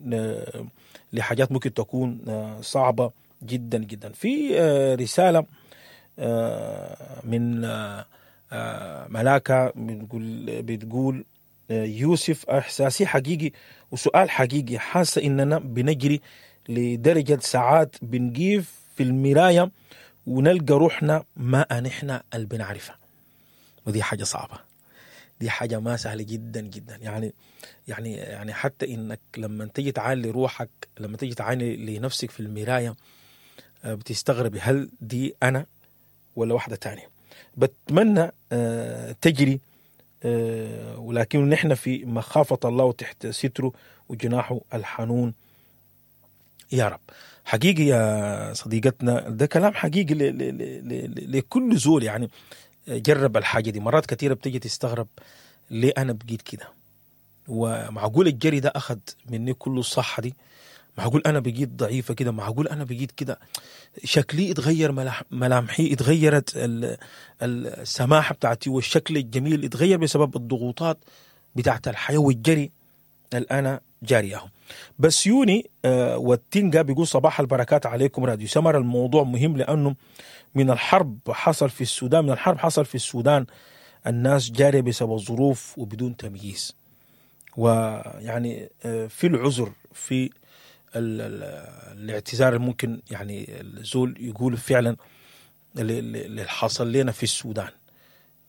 لحاجات ممكن تكون صعبة جدا جدا. في رسالة من ملاكة بتقول يوسف احساسي حقيقي وسؤال حقيقي، حاسة اننا بنجري لدرجة ساعات بنقيف في المراية ونلقى روحنا ما نحن اللي بنعرفها، ودي حاجة صعبة، دي حاجة ما سهلة جدا جدا. يعني يعني يعني حتى انك لما تيجي تعاني لروحك، لما تيجي تعاني لنفسك في المراية بتستغربي هل دي انا ولا واحدة تانية. بتمنى تجري، ولكن نحن في مخافة الله وتحت ستره وجناحه الحنون يا رب. حقيقي يا صديقتنا ده كلام حقيقي لكل زول يعني جرب الحاجة دي. مرات كثيرة بتيجي تستغرب ليه أنا بقيت كده، ومعقول الجري ده أخذ مني كل الصحة دي، معقول أنا بقيت ضعيفة كده، معقول أنا بقيت كده، شكلي اتغير، ملامحي اتغيرت، السماحة بتاعتي والشكل الجميل اتغير بسبب الضغوطات بتاعت الحياة والجري اللي أنا جاريهم. بسيوني والتنجا بيقول صباح البركات عليكم راديو سمر. الموضوع مهم لأنه من الحرب حصل في السودان، من الحرب حصل في السودان الناس جارية بسبب الظروف وبدون تمييز، ويعني في العذر في الاعتذار الممكن يعني الزول يقول فعلا اللي حصل لنا في السودان،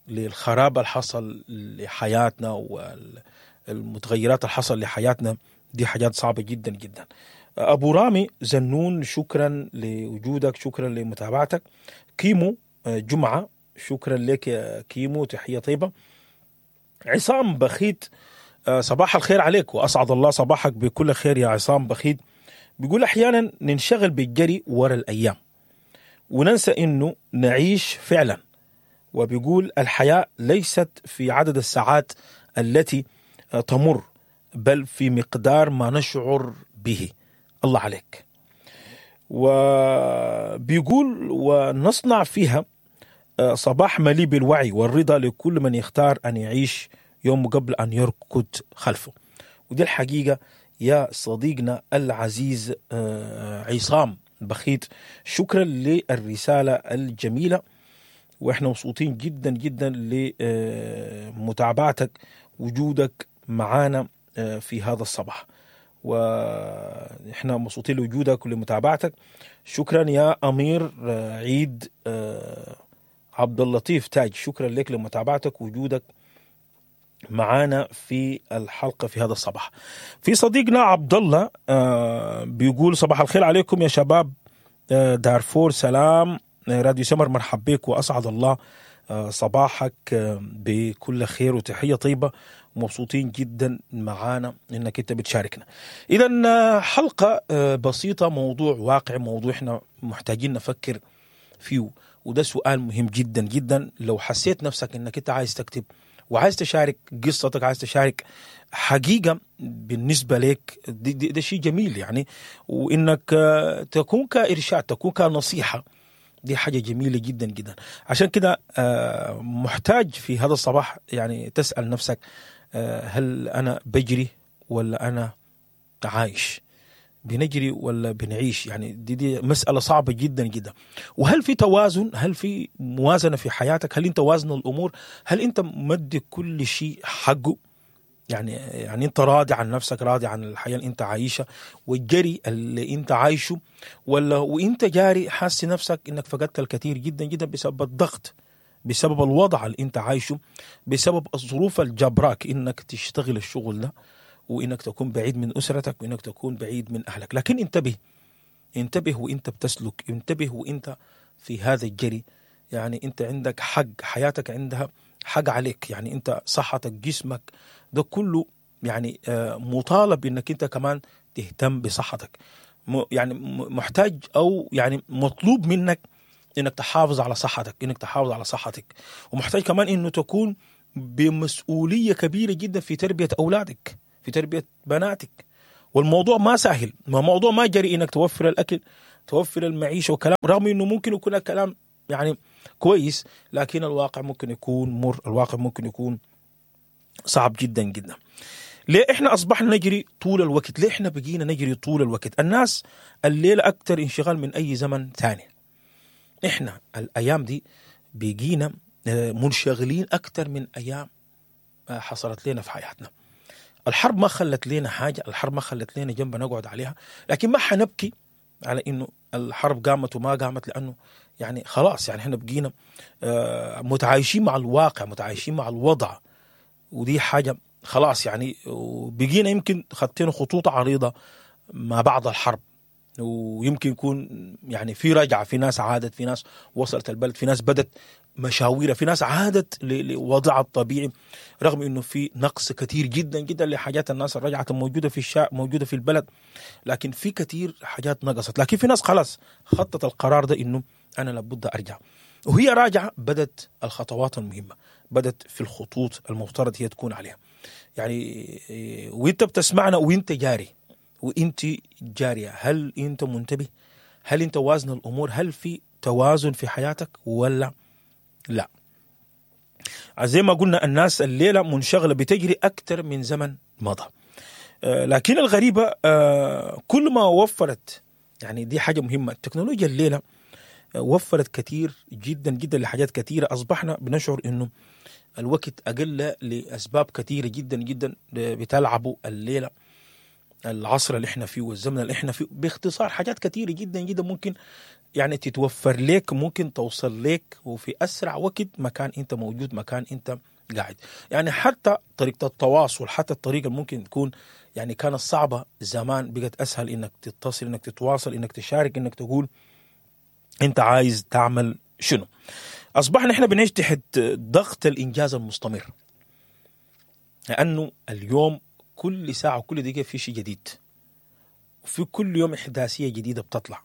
للخراب اللي حصل لحياتنا والمتغيرات اللي حصل لحياتنا، دي حاجات صعبة جدا جدا. أبو رامي زنون شكرا لوجودك، شكرا لمتابعتك. كيمو جمعة شكرا لك يا كيمو، تحية طيبة. عصام بخيت صباح الخير عليك وأسعد الله صباحك بكل خير يا عصام بخيت. بيقول أحيانا ننشغل بالجري ورا الأيام وننسى إنه نعيش فعلا، وبيقول الحياة ليست في عدد الساعات التي تمر بل في مقدار ما نشعر به. الله عليك. وبيقول ونصنع فيها صباح مليء بالوعي والرضا لكل من يختار أن يعيش يوم قبل أن يركض خلفه. ودي الحقيقة يا صديقنا العزيز عصام بخيت، شكرا للرسالة الجميلة، وإحنا مبسوطين جدا جدا لمتابعتك وجودك معانا في هذا الصباح، وإحنا مبسوطين لوجودك ولمتابعتك. شكرا يا أمير عيد عبد اللطيف تاج، شكرا لك لمتابعتك وجودك معانا في الحلقة في هذا الصباح. في صديقنا عبد الله بيقول صباح الخير عليكم يا شباب دارفور، سلام راديو سمر، مرحب بك وأسعد الله صباحك بكل خير وتحية طيبة، ومبسوطين جدا معانا انك انت بتشاركنا. اذا حلقة بسيطة، موضوع واقع، موضوع احنا محتاجين نفكر فيه، وده سؤال مهم جدا جدا. لو حسيت نفسك انك انت عايز تكتب وعايز تشارك قصتك، عايز تشارك حقيقة بالنسبة لك، ده شيء جميل يعني، وإنك تكون كإرشاد، تكون كنصيحة، دي حاجة جميلة جدا جدا. عشان كده محتاج في هذا الصباح يعني تسأل نفسك هل أنا بجري ولا أنا عايش؟ بنجري ولا بنعيش؟ يعني دي مسألة صعبة جدا جدا. وهل في توازن؟ هل في موازنة في حياتك؟ هل انت وازن الأمور؟ هل انت مدي كل شيء حقه؟ يعني انت راضي عن نفسك، راضي عن الحياة اللي انت عايشها والجري اللي انت عايشه، ولا وانت جاري حاسس نفسك انك فقدت الكثير جدا جدا بسبب الضغط، بسبب الوضع اللي انت عايشه، بسبب الظروف الجبراك انك تشتغل الشغل ده، وإنك تكون بعيد من أسرتك، وإنك تكون بعيد من أهلك. لكن انتبه، انتبه وإنت بتسلك، انتبه وإنت في هذا الجري. يعني أنت عندك حق، حياتك عندها حق عليك، يعني أنت صحتك، جسمك، ده كله يعني مطالب إنك أنت كمان تهتم بصحتك. يعني محتاج أو يعني مطلوب منك انك تحافظ على صحتك، انك تحافظ على صحتك، ومحتاج كمان انه تكون بمسؤولية كبيرة جدا في تربيه اولادك، في تربيه بناتك. والموضوع ما سهل، ما موضوع ما جري انك توفر الاكل، توفر المعيشة وكلام، رغم انه ممكن يكون الكلام يعني كويس، لكن الواقع ممكن يكون مر، الواقع ممكن يكون صعب جدا جدا. ليه احنا اصبحنا نجري طول الوقت؟ ليه احنا بقينا نجري طول الوقت؟ الناس الليلة اكثر انشغال من اي زمن ثاني. احنا الايام دي بقينا منشغلين اكثر من ايام حصلت لنا في حياتنا. الحرب ما خلت لنا حاجة، الحرب ما خلت لنا جنب نقعد عليها، لكن ما حنبكي على انه الحرب قامت وما قامت، لانه يعني خلاص يعني احنا بقينا متعايشين مع الواقع، متعايشين مع الوضع، ودي حاجة خلاص يعني. وبقينا يمكن خطينا خطوط عريضة ما بعد الحرب، ويمكن يكون يعني في رجعه، في ناس عادت، في ناس وصلت البلد، في ناس بدت مشاويرها، في ناس عادت لوضعها الطبيعي، رغم انه في نقص كثير جدا جدا لحاجات الناس الرجعت الموجودة في الشارع، موجودة في البلد، لكن في كثير حاجات نقصت. لكن في ناس خلاص خطت القرار ده انه انا لابد ارجع، وهي راجعه بدت الخطوات المهمة، بدت في الخطوط المفترض هي تكون عليها. يعني وانت بتسمعنا وانت جاري وانت جارية، هل انت منتبه؟ هل انت وازن الامور؟ هل في توازن في حياتك ولا لا؟ زي ما قلنا الناس الليلة منشغله بتجري اكثر من زمن مضى. لكن الغريبة كل ما وفرت، يعني دي حاجة مهمة، التكنولوجيا الليلة وفرت كثير جدا جدا لحاجات كثيرة. اصبحنا بنشعر انه الوقت اقل لاسباب كثيرة جدا جدا بتلعبوا الليلة، العصر اللي احنا فيه والزمن اللي احنا فيه. باختصار حاجات كثيرة جدا جدا ممكن يعني تتوفر لك، ممكن توصل لك وفي اسرع وقت مكان انت موجود، مكان انت قاعد. يعني حتى طريقه التواصل، حتى الطريقة ممكن تكون يعني كانت صعبة زمان، بقت اسهل انك تتصل، انك تتواصل، انك تشارك، انك تقول انت عايز تعمل شنو. اصبحنا احنا بنعيش تحت ضغط الانجاز المستمر، لانه اليوم كل ساعة وكل دقيقة في شيء جديد، وفي كل يوم احداثيه جديدة بتطلع،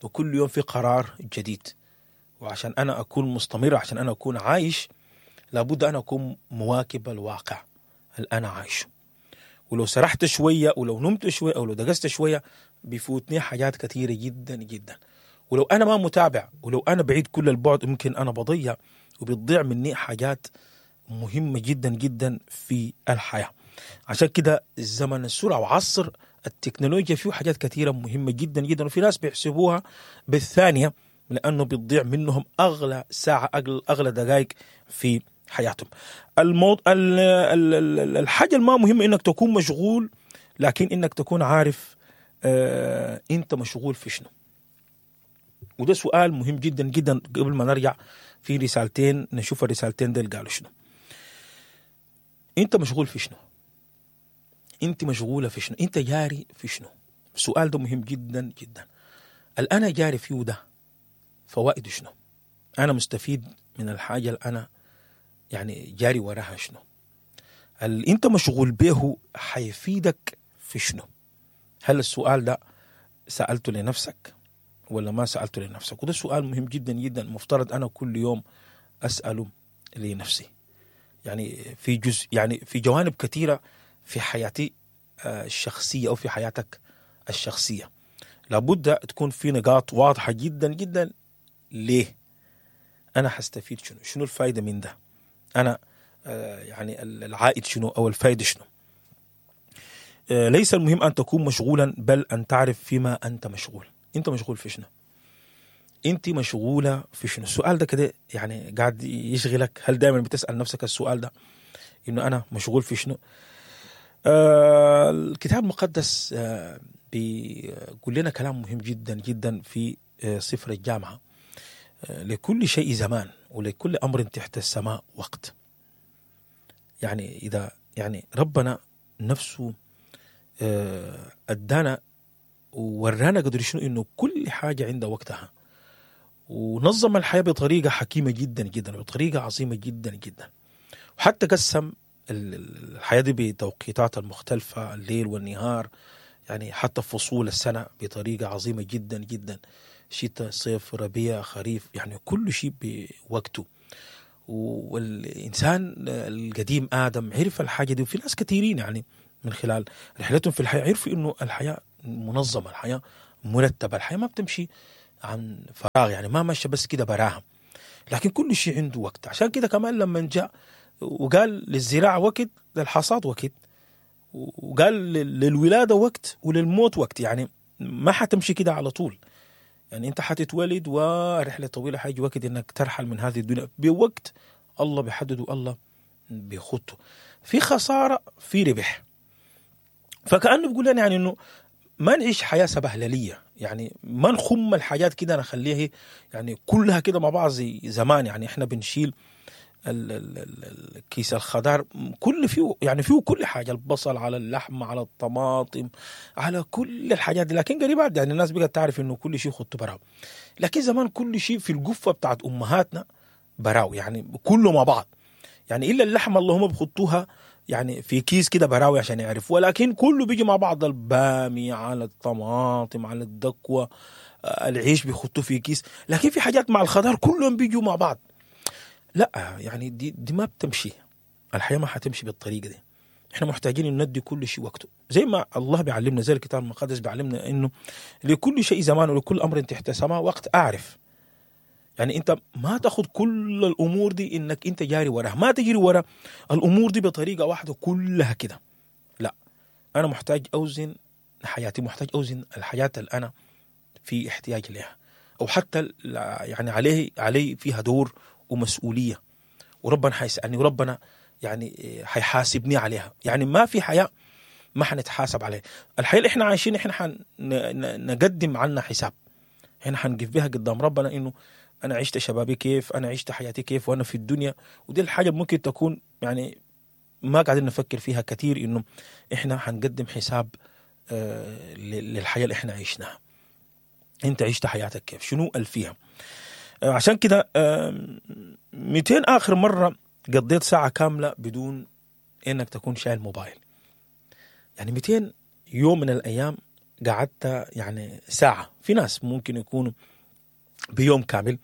وكل يوم في قرار جديد. وعشان انا اكون مستمر، عشان انا اكون عايش، لابد انا اكون مواكب الواقع اللي انا عايشه. ولو سرحت شوية، ولو نمت شوية، او لو دقست شوية، بيفوتني حاجات كثيرة جدا جدا. ولو انا ما متابع، ولو انا بعيد كل البعد، ممكن انا بضيع وبتضيع مني حاجات مهمة جدا جدا في الحياة. عشان كده الزمن السرعة وعصر التكنولوجيا فيه حاجات كثيرة مهمة جدا جدا، وفي ناس بيحسبوها بالثانية لانه بتضيع منهم اغلى ساعة، اغلى دقائق في حياتهم. الحاجة الما مهمة انك تكون مشغول، لكن انك تكون عارف انت مشغول في شنو. وده سؤال مهم جدا جدا. قبل ما نرجع في رسالتين، نشوف الرسالتين ديل قالوا شنو. انت مشغول في شنو؟ انت مشغولة في شنو؟ انت جاري في شنو؟ السؤال ده مهم جدا جدا. الأنا جاري فيه ده فوائده شنو؟ أنا مستفيد من الحاجة اللي أنا يعني جاري وراها شنو؟ اللي انت مشغول به حيفيدك في شنو؟ هل السؤال ده سألته لنفسك ولا ما سألته لنفسك؟ وده سؤال مهم جدا جدا، مفترض أنا كل يوم أسأله لنفسي. يعني في جزء، يعني في جوانب كثيرة في حياتي الشخصية أو في حياتك الشخصية، لابد تكون في نقاط واضحة جدا جدا. ليه أنا حستفيد شنو؟ شنو الفائدة من ده؟ أنا يعني العائد شنو أو الفائدة شنو؟ ليس المهم أن تكون مشغولا، بل أن تعرف فيما أنت مشغول. أنت مشغول في شنو؟ أنت مشغولة في شنو؟ السؤال ده كده يعني قاعد يشغلك. هل دائما بتسأل نفسك السؤال ده، إنه أنا مشغول في شنو؟ الكتاب المقدس بيقول لنا كلام مهم جدا جدا في سفر الجامعة. لكل شيء زمان ولكل أمر تحت السماء وقت. يعني إذا يعني ربنا نفسه أدانا وورانا قدر شنو إنه كل حاجة عندها وقتها، ونظم الحياة بطريقة حكيمة جدا جدا، بطريقة عظيمة جدا جدا، وحتى قسم الحياة دي بتوقيتات المختلفة، الليل والنهار، يعني حتى فصول السنة بطريقة عظيمة جدا جدا. شتاء، صيف، ربيع، خريف، يعني كل شيء بوقته. والإنسان القديم آدم عرف الحاجة دي، وفي ناس كثيرين يعني من خلال رحلتهم في الحياة عرفوا إنه الحياة منظمة، الحياة مرتبة، الحياة ما بتمشي عن فراغ، يعني ما ماشية بس كده براها، لكن كل شيء عنده وقت. عشان كده كمان لما جاء وقال للزراعة وقت، للحصاد وقت، وقال للولادة وقت وللموت وقت. يعني ما حتمشي كده على طول، يعني انت حتتولد ورحلة طويلة، حيجي وقت انك ترحل من هذه الدنيا بوقت الله بيحدده، الله بيخطه. في خسارة في ربح. فكأنه بيقول لنا يعني انه ما نعيش حياة سبهللية، يعني ما نخم الحاجات كده نخليها يعني كلها كده مع بعض زي زمان. يعني احنا بنشيل الكيس الخضار كل فيه، يعني فيه كل حاجة، البصل على اللحم على الطماطم على كل الحاجات دي. لكن قريبات يعني الناس بقت تعرف انه كل شيء خدته براو، لكن زمان كل شيء في القفة بتاعت امهاتنا براو، يعني كله مع بعض، يعني الا اللحمة اللي هم بخطوها يعني في كيس كده براوي عشان يعرفوا، ولكن كله بيجي مع بعض، البامي على الطماطم على الدكوة، العيش بيخطوه في كيس، لكن في حاجات مع الخضار كلهم بيجوا مع بعض. لا يعني دي ما بتمشي، الحياة ما حتمشي بالطريقة دي. احنا محتاجين ان ندي كل شيء وقته، زي ما الله بيعلمنا، زي الكتاب المقدس بيعلمنا انه لكل شيء زمان ولكل امر تحت سماء وقت. اعرف يعني انت ما تاخذ كل الامور دي انك انت جاري وراها، ما تجري ورا الامور دي بطريقة واحدة كلها كده. لا، انا محتاج اوزن حياتي، محتاج اوزن الحياة اللي انا في احتياج لها، او حتى يعني عليه فيها دور ومسؤولية، وربنا حيسالني وربنا يعني حيحاسبني عليها. يعني ما في حياة ما حنتحاسب عليها. الحياة اللي احنا عايشين احنا حنقدم عنها حساب، احنا حنقف بها قدام ربنا انه انا عشت شبابي كيف، انا عشت حياتي كيف وانا في الدنيا. ودي الحاجة ممكن تكون يعني ما قاعدين نفكر فيها كثير، انه احنا حنقدم حساب للحياة اللي احنا عشناها. انت عشت حياتك كيف، شنو الفيها؟ عشان كده 200 اخر مرة قضيت ساعة كاملة بدون انك تكون شايل موبايل، يعني 200 يوم من الايام قعدت يعني ساعة. في ناس ممكن يكونوا بيوم كامل،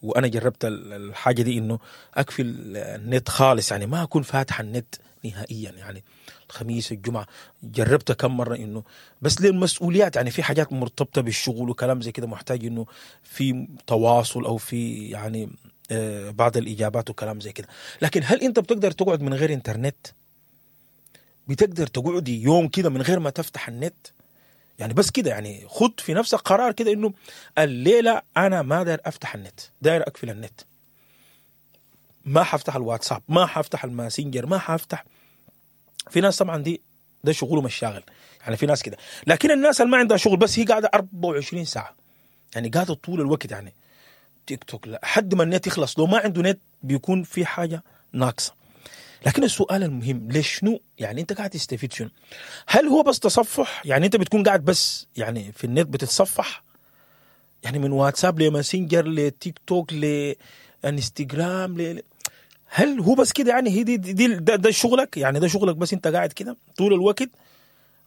وانا جربت الحاجة دي انه اقفل النت خالص، يعني ما اكون فاتح النت نهائيا، يعني الخميس الجمعة جربت كم مرة انه بس للمسؤوليات، يعني في حاجات مرتبطة بالشغل وكلام زي كده، محتاج انه في تواصل او في يعني بعض الاجابات وكلام زي كده. لكن هل انت بتقدر تقعد من غير انترنت؟ بتقدر تقعدي يوم كده من غير ما تفتح النت؟ يعني بس كده، يعني خد في نفسك قرار كده انه الليلة انا ما داير افتح النت، داير اقفل النت، ما حفتح الواتساب، ما حفتح الماسنجر، ما حفتح. في ناس طبعا دي ده شغله مش شاغل، يعني في ناس كده. لكن الناس اللي ما عندها شغل بس هي قاعدة 24 ساعة، يعني قاعدة طول الوقت، يعني تيك توك لحد ما النت يخلص. لو ما عنده نت بيكون في حاجة ناقصه. لكن السؤال المهم، ليش شنو يعني انت قاعد تستفيد شنو؟ هل هو بس تصفح؟ يعني انت بتكون قاعد بس يعني في النت بتتصفح، يعني من واتساب لماسنجر لتيك توك لانستغرام هل هو بس كده؟ يعني هي دي ده شغلك، يعني ده شغلك بس، انت قاعد كده طول الوقت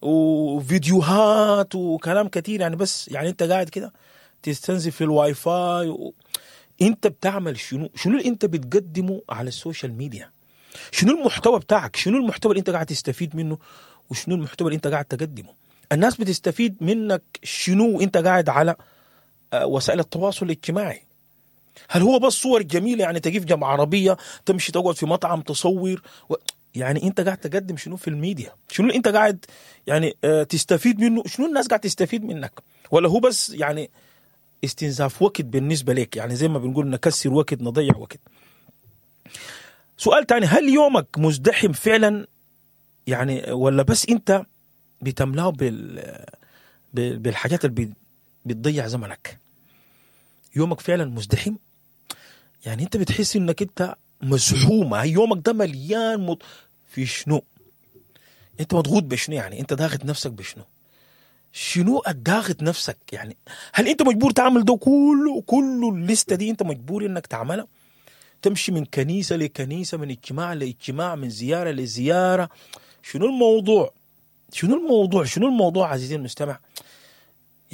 وفيديوهات وكلام كتير، يعني بس يعني انت قاعد كده تستنزف في الواي فاي انت بتعمل شنو؟ شنو اللي انت بتقدمه على ال social media؟ شنو المحتوى بتاعك؟ شنو المحتوى اللي انت قاعد تستفيد منه؟ وشنو المحتوى اللي انت قاعد تقدمه؟ الناس بتستفيد منك شنو وانت قاعد على وسائل التواصل الاجتماعي؟ هل هو بس صور جميلة، يعني تقف جنب عربية، تمشي تقعد في مطعم تصور يعني انت قاعد تقدم شنو في الميديا؟ شنو اللي انت قاعد يعني تستفيد منه؟ شنو الناس قاعد تستفيد منك؟ ولا هو بس يعني استنزاف وقت بالنسبة لك؟ يعني زي ما بنقول نكسر وقت، نضيع وقت. سؤال تاني، هل يومك مزدحم فعلا يعني، ولا بس انت بتملاه بالحاجات اللي بتضيع زمنك؟ يومك فعلا مزدحم؟ يعني انت بتحس انك انت مزحومة، يومك ده مليان في شنو؟ انت مضغوط بشنو؟ يعني انت ضاغط نفسك بشنو؟ شنو الضاغط نفسك؟ يعني هل انت مجبور تعمل ده كله؟ كله الليستة دي انت مجبور انك تعملها؟ تمشي من كنيسة لكنيسة، من اجتماع لاجتماع، من زيارة لزيارة. شنو الموضوع؟ شنو الموضوع؟ شنو الموضوع عزيزي المستمع؟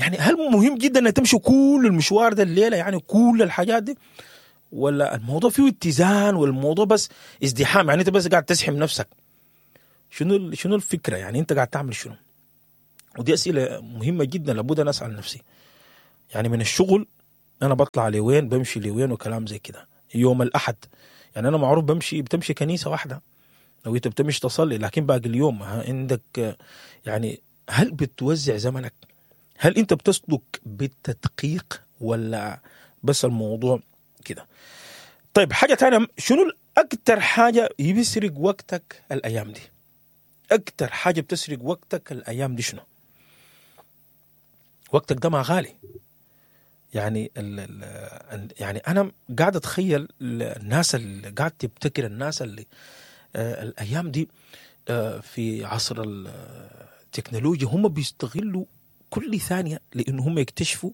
يعني هل مهم جدا انك تمشي كل المشوار ده الليلة، يعني كل الحاجات دي، ولا الموضوع فيه اتزان والموضوع بس ازدحام؟ يعني انت بس قاعد تزحم نفسك. شنو الفكرة؟ يعني انت قاعد تعمل شنو؟ ودي اسئلة مهمة جدا لابد ان اسال نفسي. يعني من الشغل انا بطلع لوين، بمشي لوين، وكلام زي كده. يوم الاحد يعني انا معروف بتمشي كنيسة واحدة لو انت بتمشي تصلي، لكن باقي اليوم عندك يعني هل بتوزع زمنك؟ هل انت بتسلك بالتدقيق ولا بس الموضوع كده؟ طيب حاجة ثانية، شنو اكثر حاجة بيسرق وقتك الايام دي؟ اكثر حاجة بتسرق وقتك الايام دي شنو؟ وقتك ده ما غالي. يعني يعني انا قاعد اتخيل الناس اللي قاعد تبتكر، الناس اللي الايام دي في عصر التكنولوجيا هم بيستغلوا كل ثانية لانه هم يكتشفوا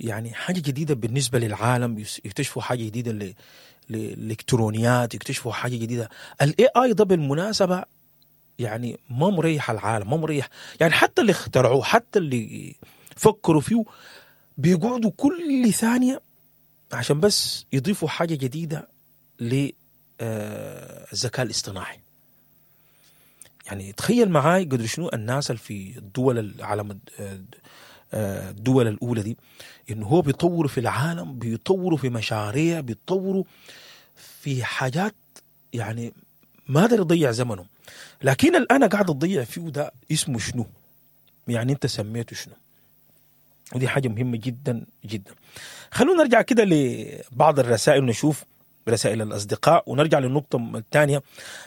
يعني حاجة جديدة بالنسبة للعالم، يكتشفوا حاجة جديدة للالكترونيات، يكتشفوا حاجة جديدة. ال AI ده بالمناسبة يعني ما مريح العالم، ما مريح، يعني حتى اللي اخترعوه، حتى اللي فكروا فيه، بيقعدوا كل ثانية عشان بس يضيفوا حاجة جديدة للذكاء الاصطناعي. يعني تخيل معاي قدر شنو الناس اللي في الدول العالم، الدول الأولى دي، إنه هو بيطوروا في العالم، بيطوروا في مشاريع، بيطوروا في حاجات، يعني ما قدر يضيع زمنه. لكن اللي أنا قاعد أضيع فيه ده اسمه شنو؟ يعني أنت سميته شنو؟ ودي حاجة مهمة جدا جدا. خلونا نرجع كده لبعض الرسائل ونشوف رسائل الأصدقاء، ونرجع للنقطة الثانية.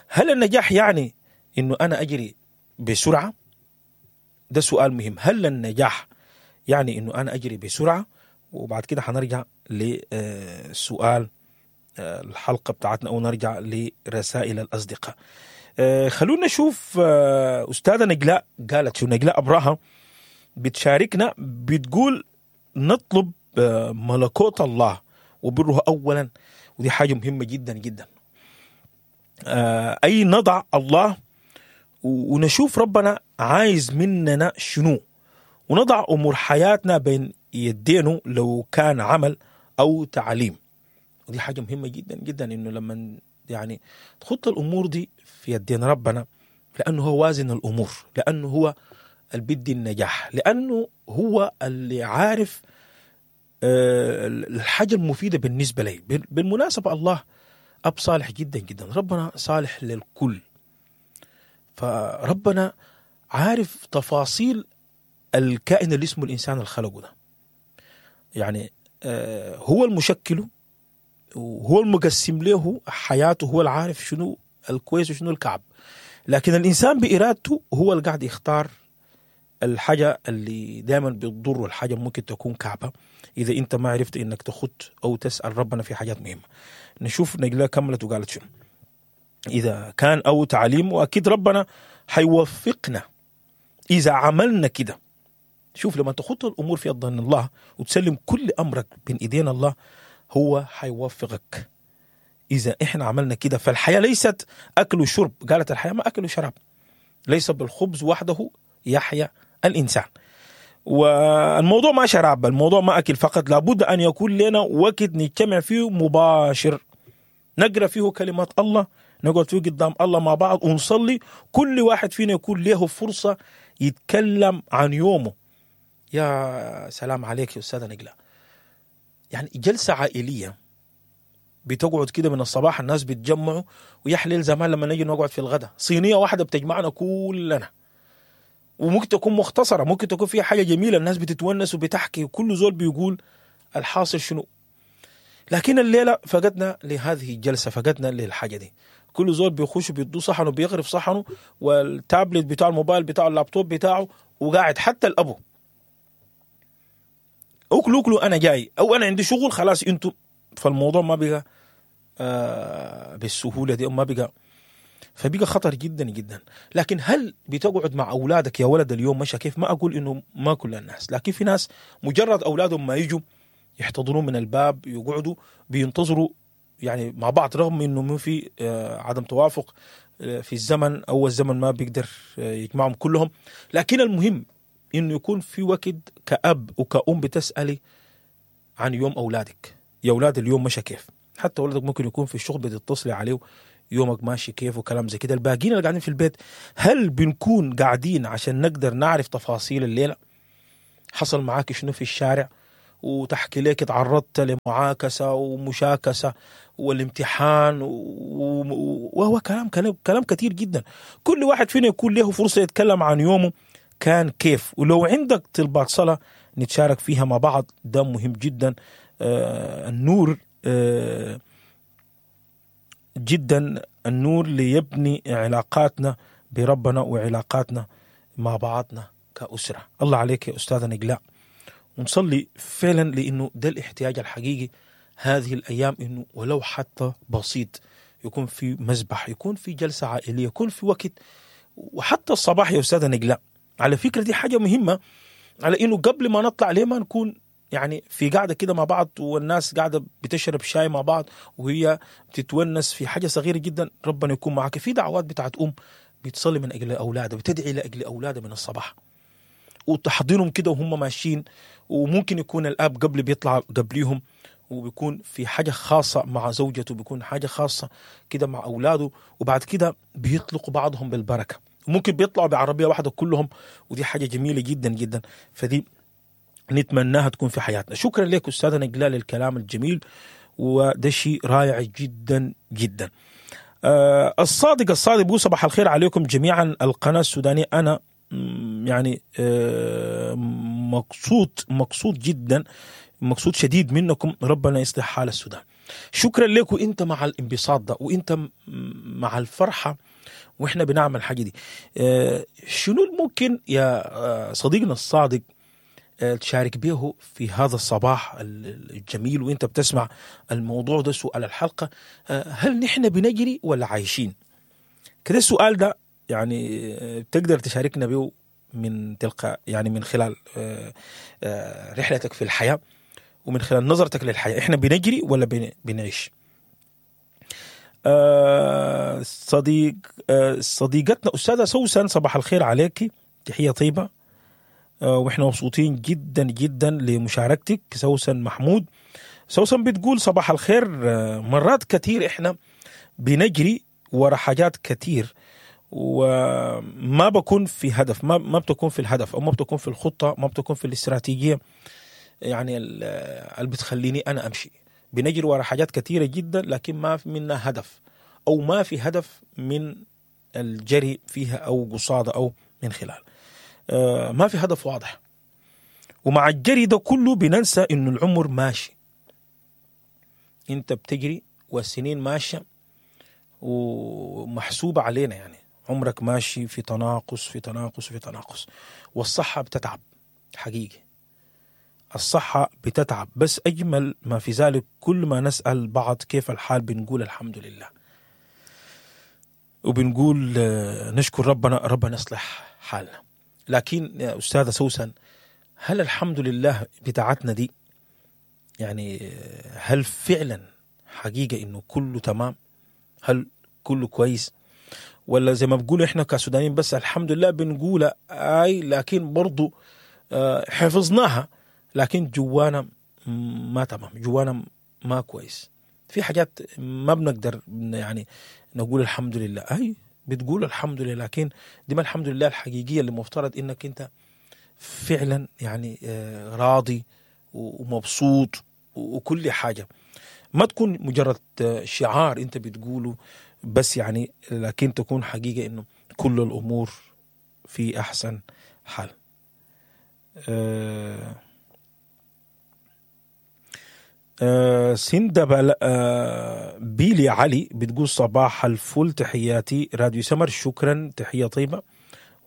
هل النجاح يعني إنه أنا أجري بسرعة؟ ده سؤال مهم. هل النجاح يعني إنه أنا أجري بسرعة؟ وبعد كده حنرجع لسؤال الحلقة بتاعتنا، أو نرجع لرسائل الأصدقاء. خلونا نشوف أستاذة نجلاء قالت شو. نجلاء أبراها بتشاركنا، بتقول نطلب ملكوت الله وبره أولا، ودي حاجة مهمة جدا جدا. أي نضع الله ونشوف ربنا عايز مننا شنو، ونضع أمور حياتنا بين يدينه لو كان عمل أو تعليم. ودي حاجة مهمة جدا جدا، إنه لما يعني تخط الأمور دي في يدين ربنا، لأنه هو وازن الأمور، لأنه هو اللي بيدي النجاح، لأنه هو اللي عارف الحاجة المفيدة بالنسبة لي. بالمناسبة الله أب صالح جدا جدا، ربنا صالح للكل، فربنا عارف تفاصيل الكائن اللي اسمه الإنسان اللي خلقه ده. يعني هو المشكلة وهو المقسم له حياته، هو العارف شنو الكويس وشنو الكعب، لكن الإنسان بإرادته هو اللي قاعد يختار الحاجة اللي دائما بتضره، الحاجة ممكن تكون كعبة إذا أنت ما عرفت إنك تخط أو تسأل ربنا في حاجات مهمة. نشوف نجلاء كملت وقالت شنو. إذا كان أو تعليم، وأكيد ربنا حيوفقنا إذا عملنا كده. شوف لما تخط الأمور في يد الله وتسلم كل أمرك بين إيدين الله، هو حيوفقك إذا إحنا عملنا كده. فالحياة ليست أكل وشرب، قالت الحياة ما أكل وشراب، ليس بالخبز وحده يحيا الإنسان. والموضوع ما شراب، الموضوع ما أكل فقط، لابد أن يكون لنا وقت نجتمع فيه مباشر، نقرأ فيه كلمات الله، نقعد فيه قدام الله مع بعض ونصلي، كل واحد فينا يكون له فرصة يتكلم عن يومه. يا سلام عليك يا أستاذة نجلاء، يعني جلسة عائلية بتقعد كده من الصباح، الناس بتجمعوا، ويحلل زمان لما نجي نقعد في الغداء صينية واحدة بتجمعنا كلنا، وممكن تكون مختصرة، ممكن تكون فيها حاجة جميلة، الناس بتتونس وبتحكي وكل زول بيقول الحاصل شنو. لكن الليلة فقدنا لهذه الجلسة، فقدنا للحاجة دي. كل زول بيخش بيدو صحنه، بيغرف صحنه، والتابلت بتاع الموبايل بتاعه، اللابتوب بتاعه، وقاعد. حتى الأبو أكلوا أكلوا أنا جاي، أو أنا عندي شغل خلاص أنتوا. فالموضوع ما بقى بالسهولة دي، ما بقى، فبقى خطر جدا جدا. لكن هل بتقعد مع أولادك يا ولد اليوم مشى كيف؟ ما أقول إنه ما كل الناس، لكن في ناس مجرد أولادهم ما يجوا يحتضنون من الباب، يقعدوا بينتظروا يعني مع بعض، رغم إنه ما في عدم توافق في الزمن أو الزمن ما بيقدر يجمعهم كلهم، لكن المهم انه يكون في وقت كأب وكأم بتسألي عن يوم اولادك، يا اولاد اليوم مشى كيف؟ حتى ولدك ممكن يكون في الشغل بتتصلي عليه يومك ماشي كيف وكلام زي كده. الباقيين اللي قاعدين في البيت، هل بنكون قاعدين عشان نقدر نعرف تفاصيل الليلة؟ حصل معاك شنو في الشارع؟ وتحكي لك تعرضت لمعاكسة ومشاكسة والامتحان وهو كلام كلام كلام كثير جدا. كل واحد فينا يكون له فرصة يتكلم عن يومه كان كيف، ولو عندك طلبات صلاة نتشارك فيها مع بعض، ده مهم جدا. النور جدا، النور ليبني علاقاتنا بربنا وعلاقاتنا مع بعضنا كأسرة. الله عليك يا أستاذة نجلاء، ونصلي فعلا لأنه ده الاحتياج الحقيقي هذه الأيام، إنه ولو حتى بسيط يكون في مذبح، يكون في جلسة عائلية، يكون في وقت. وحتى الصباح يا أستاذة نجلاء على فكرة دي حاجة مهمة، على إنه قبل ما نطلع ليه ما نكون يعني في قاعدة كده مع بعض، والناس قاعدة بتشرب شاي مع بعض وهي بتتونس في حاجة صغيرة جدا. ربنا يكون معك. في دعوات بتاعت أم بتصلي من أجل أولادها، بتدعي لأجل أولادها من الصباح وتحضنهم كده وهم ماشيين، وممكن يكون الأب قبل بيطلع قبليهم وبيكون في حاجة خاصة مع زوجته، بيكون حاجة خاصة كده مع أولاده، وبعد كده بيطلقوا بعضهم بالبركة، ممكن بيطلعوا بعربية واحدة كلهم، ودي حاجة جميلة جدا جدا، فدي نتمناها تكون في حياتنا. شكرا لك أستاذة نجلاء للكلام الجميل، وده شيء رائع جدا جدا. الصادق بيقول صباح الخير عليكم جميعا. القناة السودانية أنا يعني مقصود جدا، مقصود شديد منكم، ربنا يصلح حال السودان. شكرا لك، وانت مع الانبساط ده وانت مع الفرحة واحنا بنعمل الحاجة دي. شنو ممكن يا صديقنا الصادق تشارك به في هذا الصباح الجميل وانت بتسمع الموضوع ده، سؤال الحلقة، هل نحن بنجري ولا عايشين؟ كده السؤال ده يعني تقدر تشاركنا به من تلقى يعني من خلال رحلتك في الحياة ومن خلال نظرتك للحياة، احنا بنجري ولا بنعيش؟ صديقتنا أستاذة سوسن، صباح الخير عليك، تحية طيبة، واحنا مبسوطين جدا جدا لمشاركتك سوسن محمود. سوسن بتقول صباح الخير، مرات كثير احنا بنجري ورا حاجات كثير وما بكون في هدف، ما بتكون في الهدف او ما بتكون في الخطة، ما بتكون في الاستراتيجية يعني اللي بتخليني انا امشي. بنجري ورا حاجات كثيرة جدا لكن ما في منها هدف، او ما في هدف من الجري فيها او قصاده او من خلال، ما في هدف واضح. ومع الجري ده كله بننسى انه العمر ماشي، انت بتجري والسنين ماشية ومحسوبة علينا، يعني عمرك ماشي في تناقص في تناقص في تناقص، والصحة بتتعب حقيقي، الصحة بتتعب. بس أجمل ما في ذلك كل ما نسأل بعض كيف الحال بنقول الحمد لله، وبنقول نشكر ربنا، ربنا يصلح حالنا. لكن يا أستاذة سوسن، هل الحمد لله بتاعتنا دي يعني هل فعلا حقيقة إنه كله تمام؟ هل كله كويس؟ ولا زي ما بقول إحنا كسودانيين بس الحمد لله بنقول آي، لكن برضو حفظناها، لكن جوانا ما تمام، جوانا ما كويس، في حاجات ما بنقدر يعني نقول الحمد لله. أي بتقول الحمد لله، لكن دي ما الحمد لله الحقيقية اللي مفترض إنك أنت فعلا يعني راضي ومبسوط وكل حاجة، ما تكون مجرد شعار أنت بتقوله بس يعني، لكن تكون حقيقة إنه كل الأمور في أحسن حال. سندة بيلي علي بتقول صباح الفل، تحياتي راديو سمر، شكرا، تحية طيبة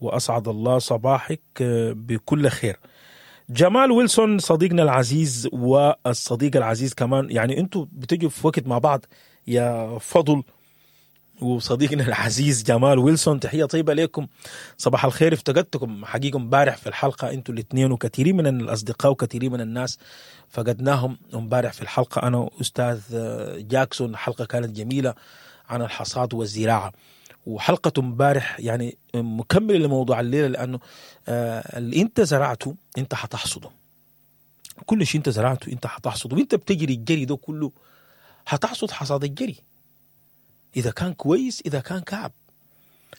وأسعد الله صباحك بكل خير. جمال ويلسون صديقنا العزيز والصديق العزيز كمان، يعني انتوا بتجوا في وقت مع بعض يا فضل وصديقنا العزيز جمال ويلسون، تحية طيبة لكم، صباح الخير. افتقدتكم حقيقة امبارح في الحلقة انتوا الاثنين، وكثيرين من الأصدقاء وكثيرين من الناس فقدناهم امبارح في الحلقة، أنا وأستاذ جاكسون. حلقة كانت جميلة عن الحصاد والزراعة، وحلقة امبارح يعني مكملة لموضوع الليلة، لأنه اللي أنت زرعته أنت حتحصده. كل شيء أنت زرعته أنت حتحصده، وأنت بتجري الجري ده كله حتحصد حصاد الجري، إذا كان كويس إذا كان كعب.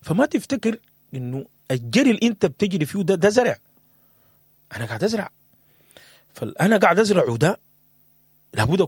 فما تفتكر إنه الجري اللي أنت بتجري فيه ده زرع. أنا قاعد أزرع، فأنا قاعد أزرع وده لابد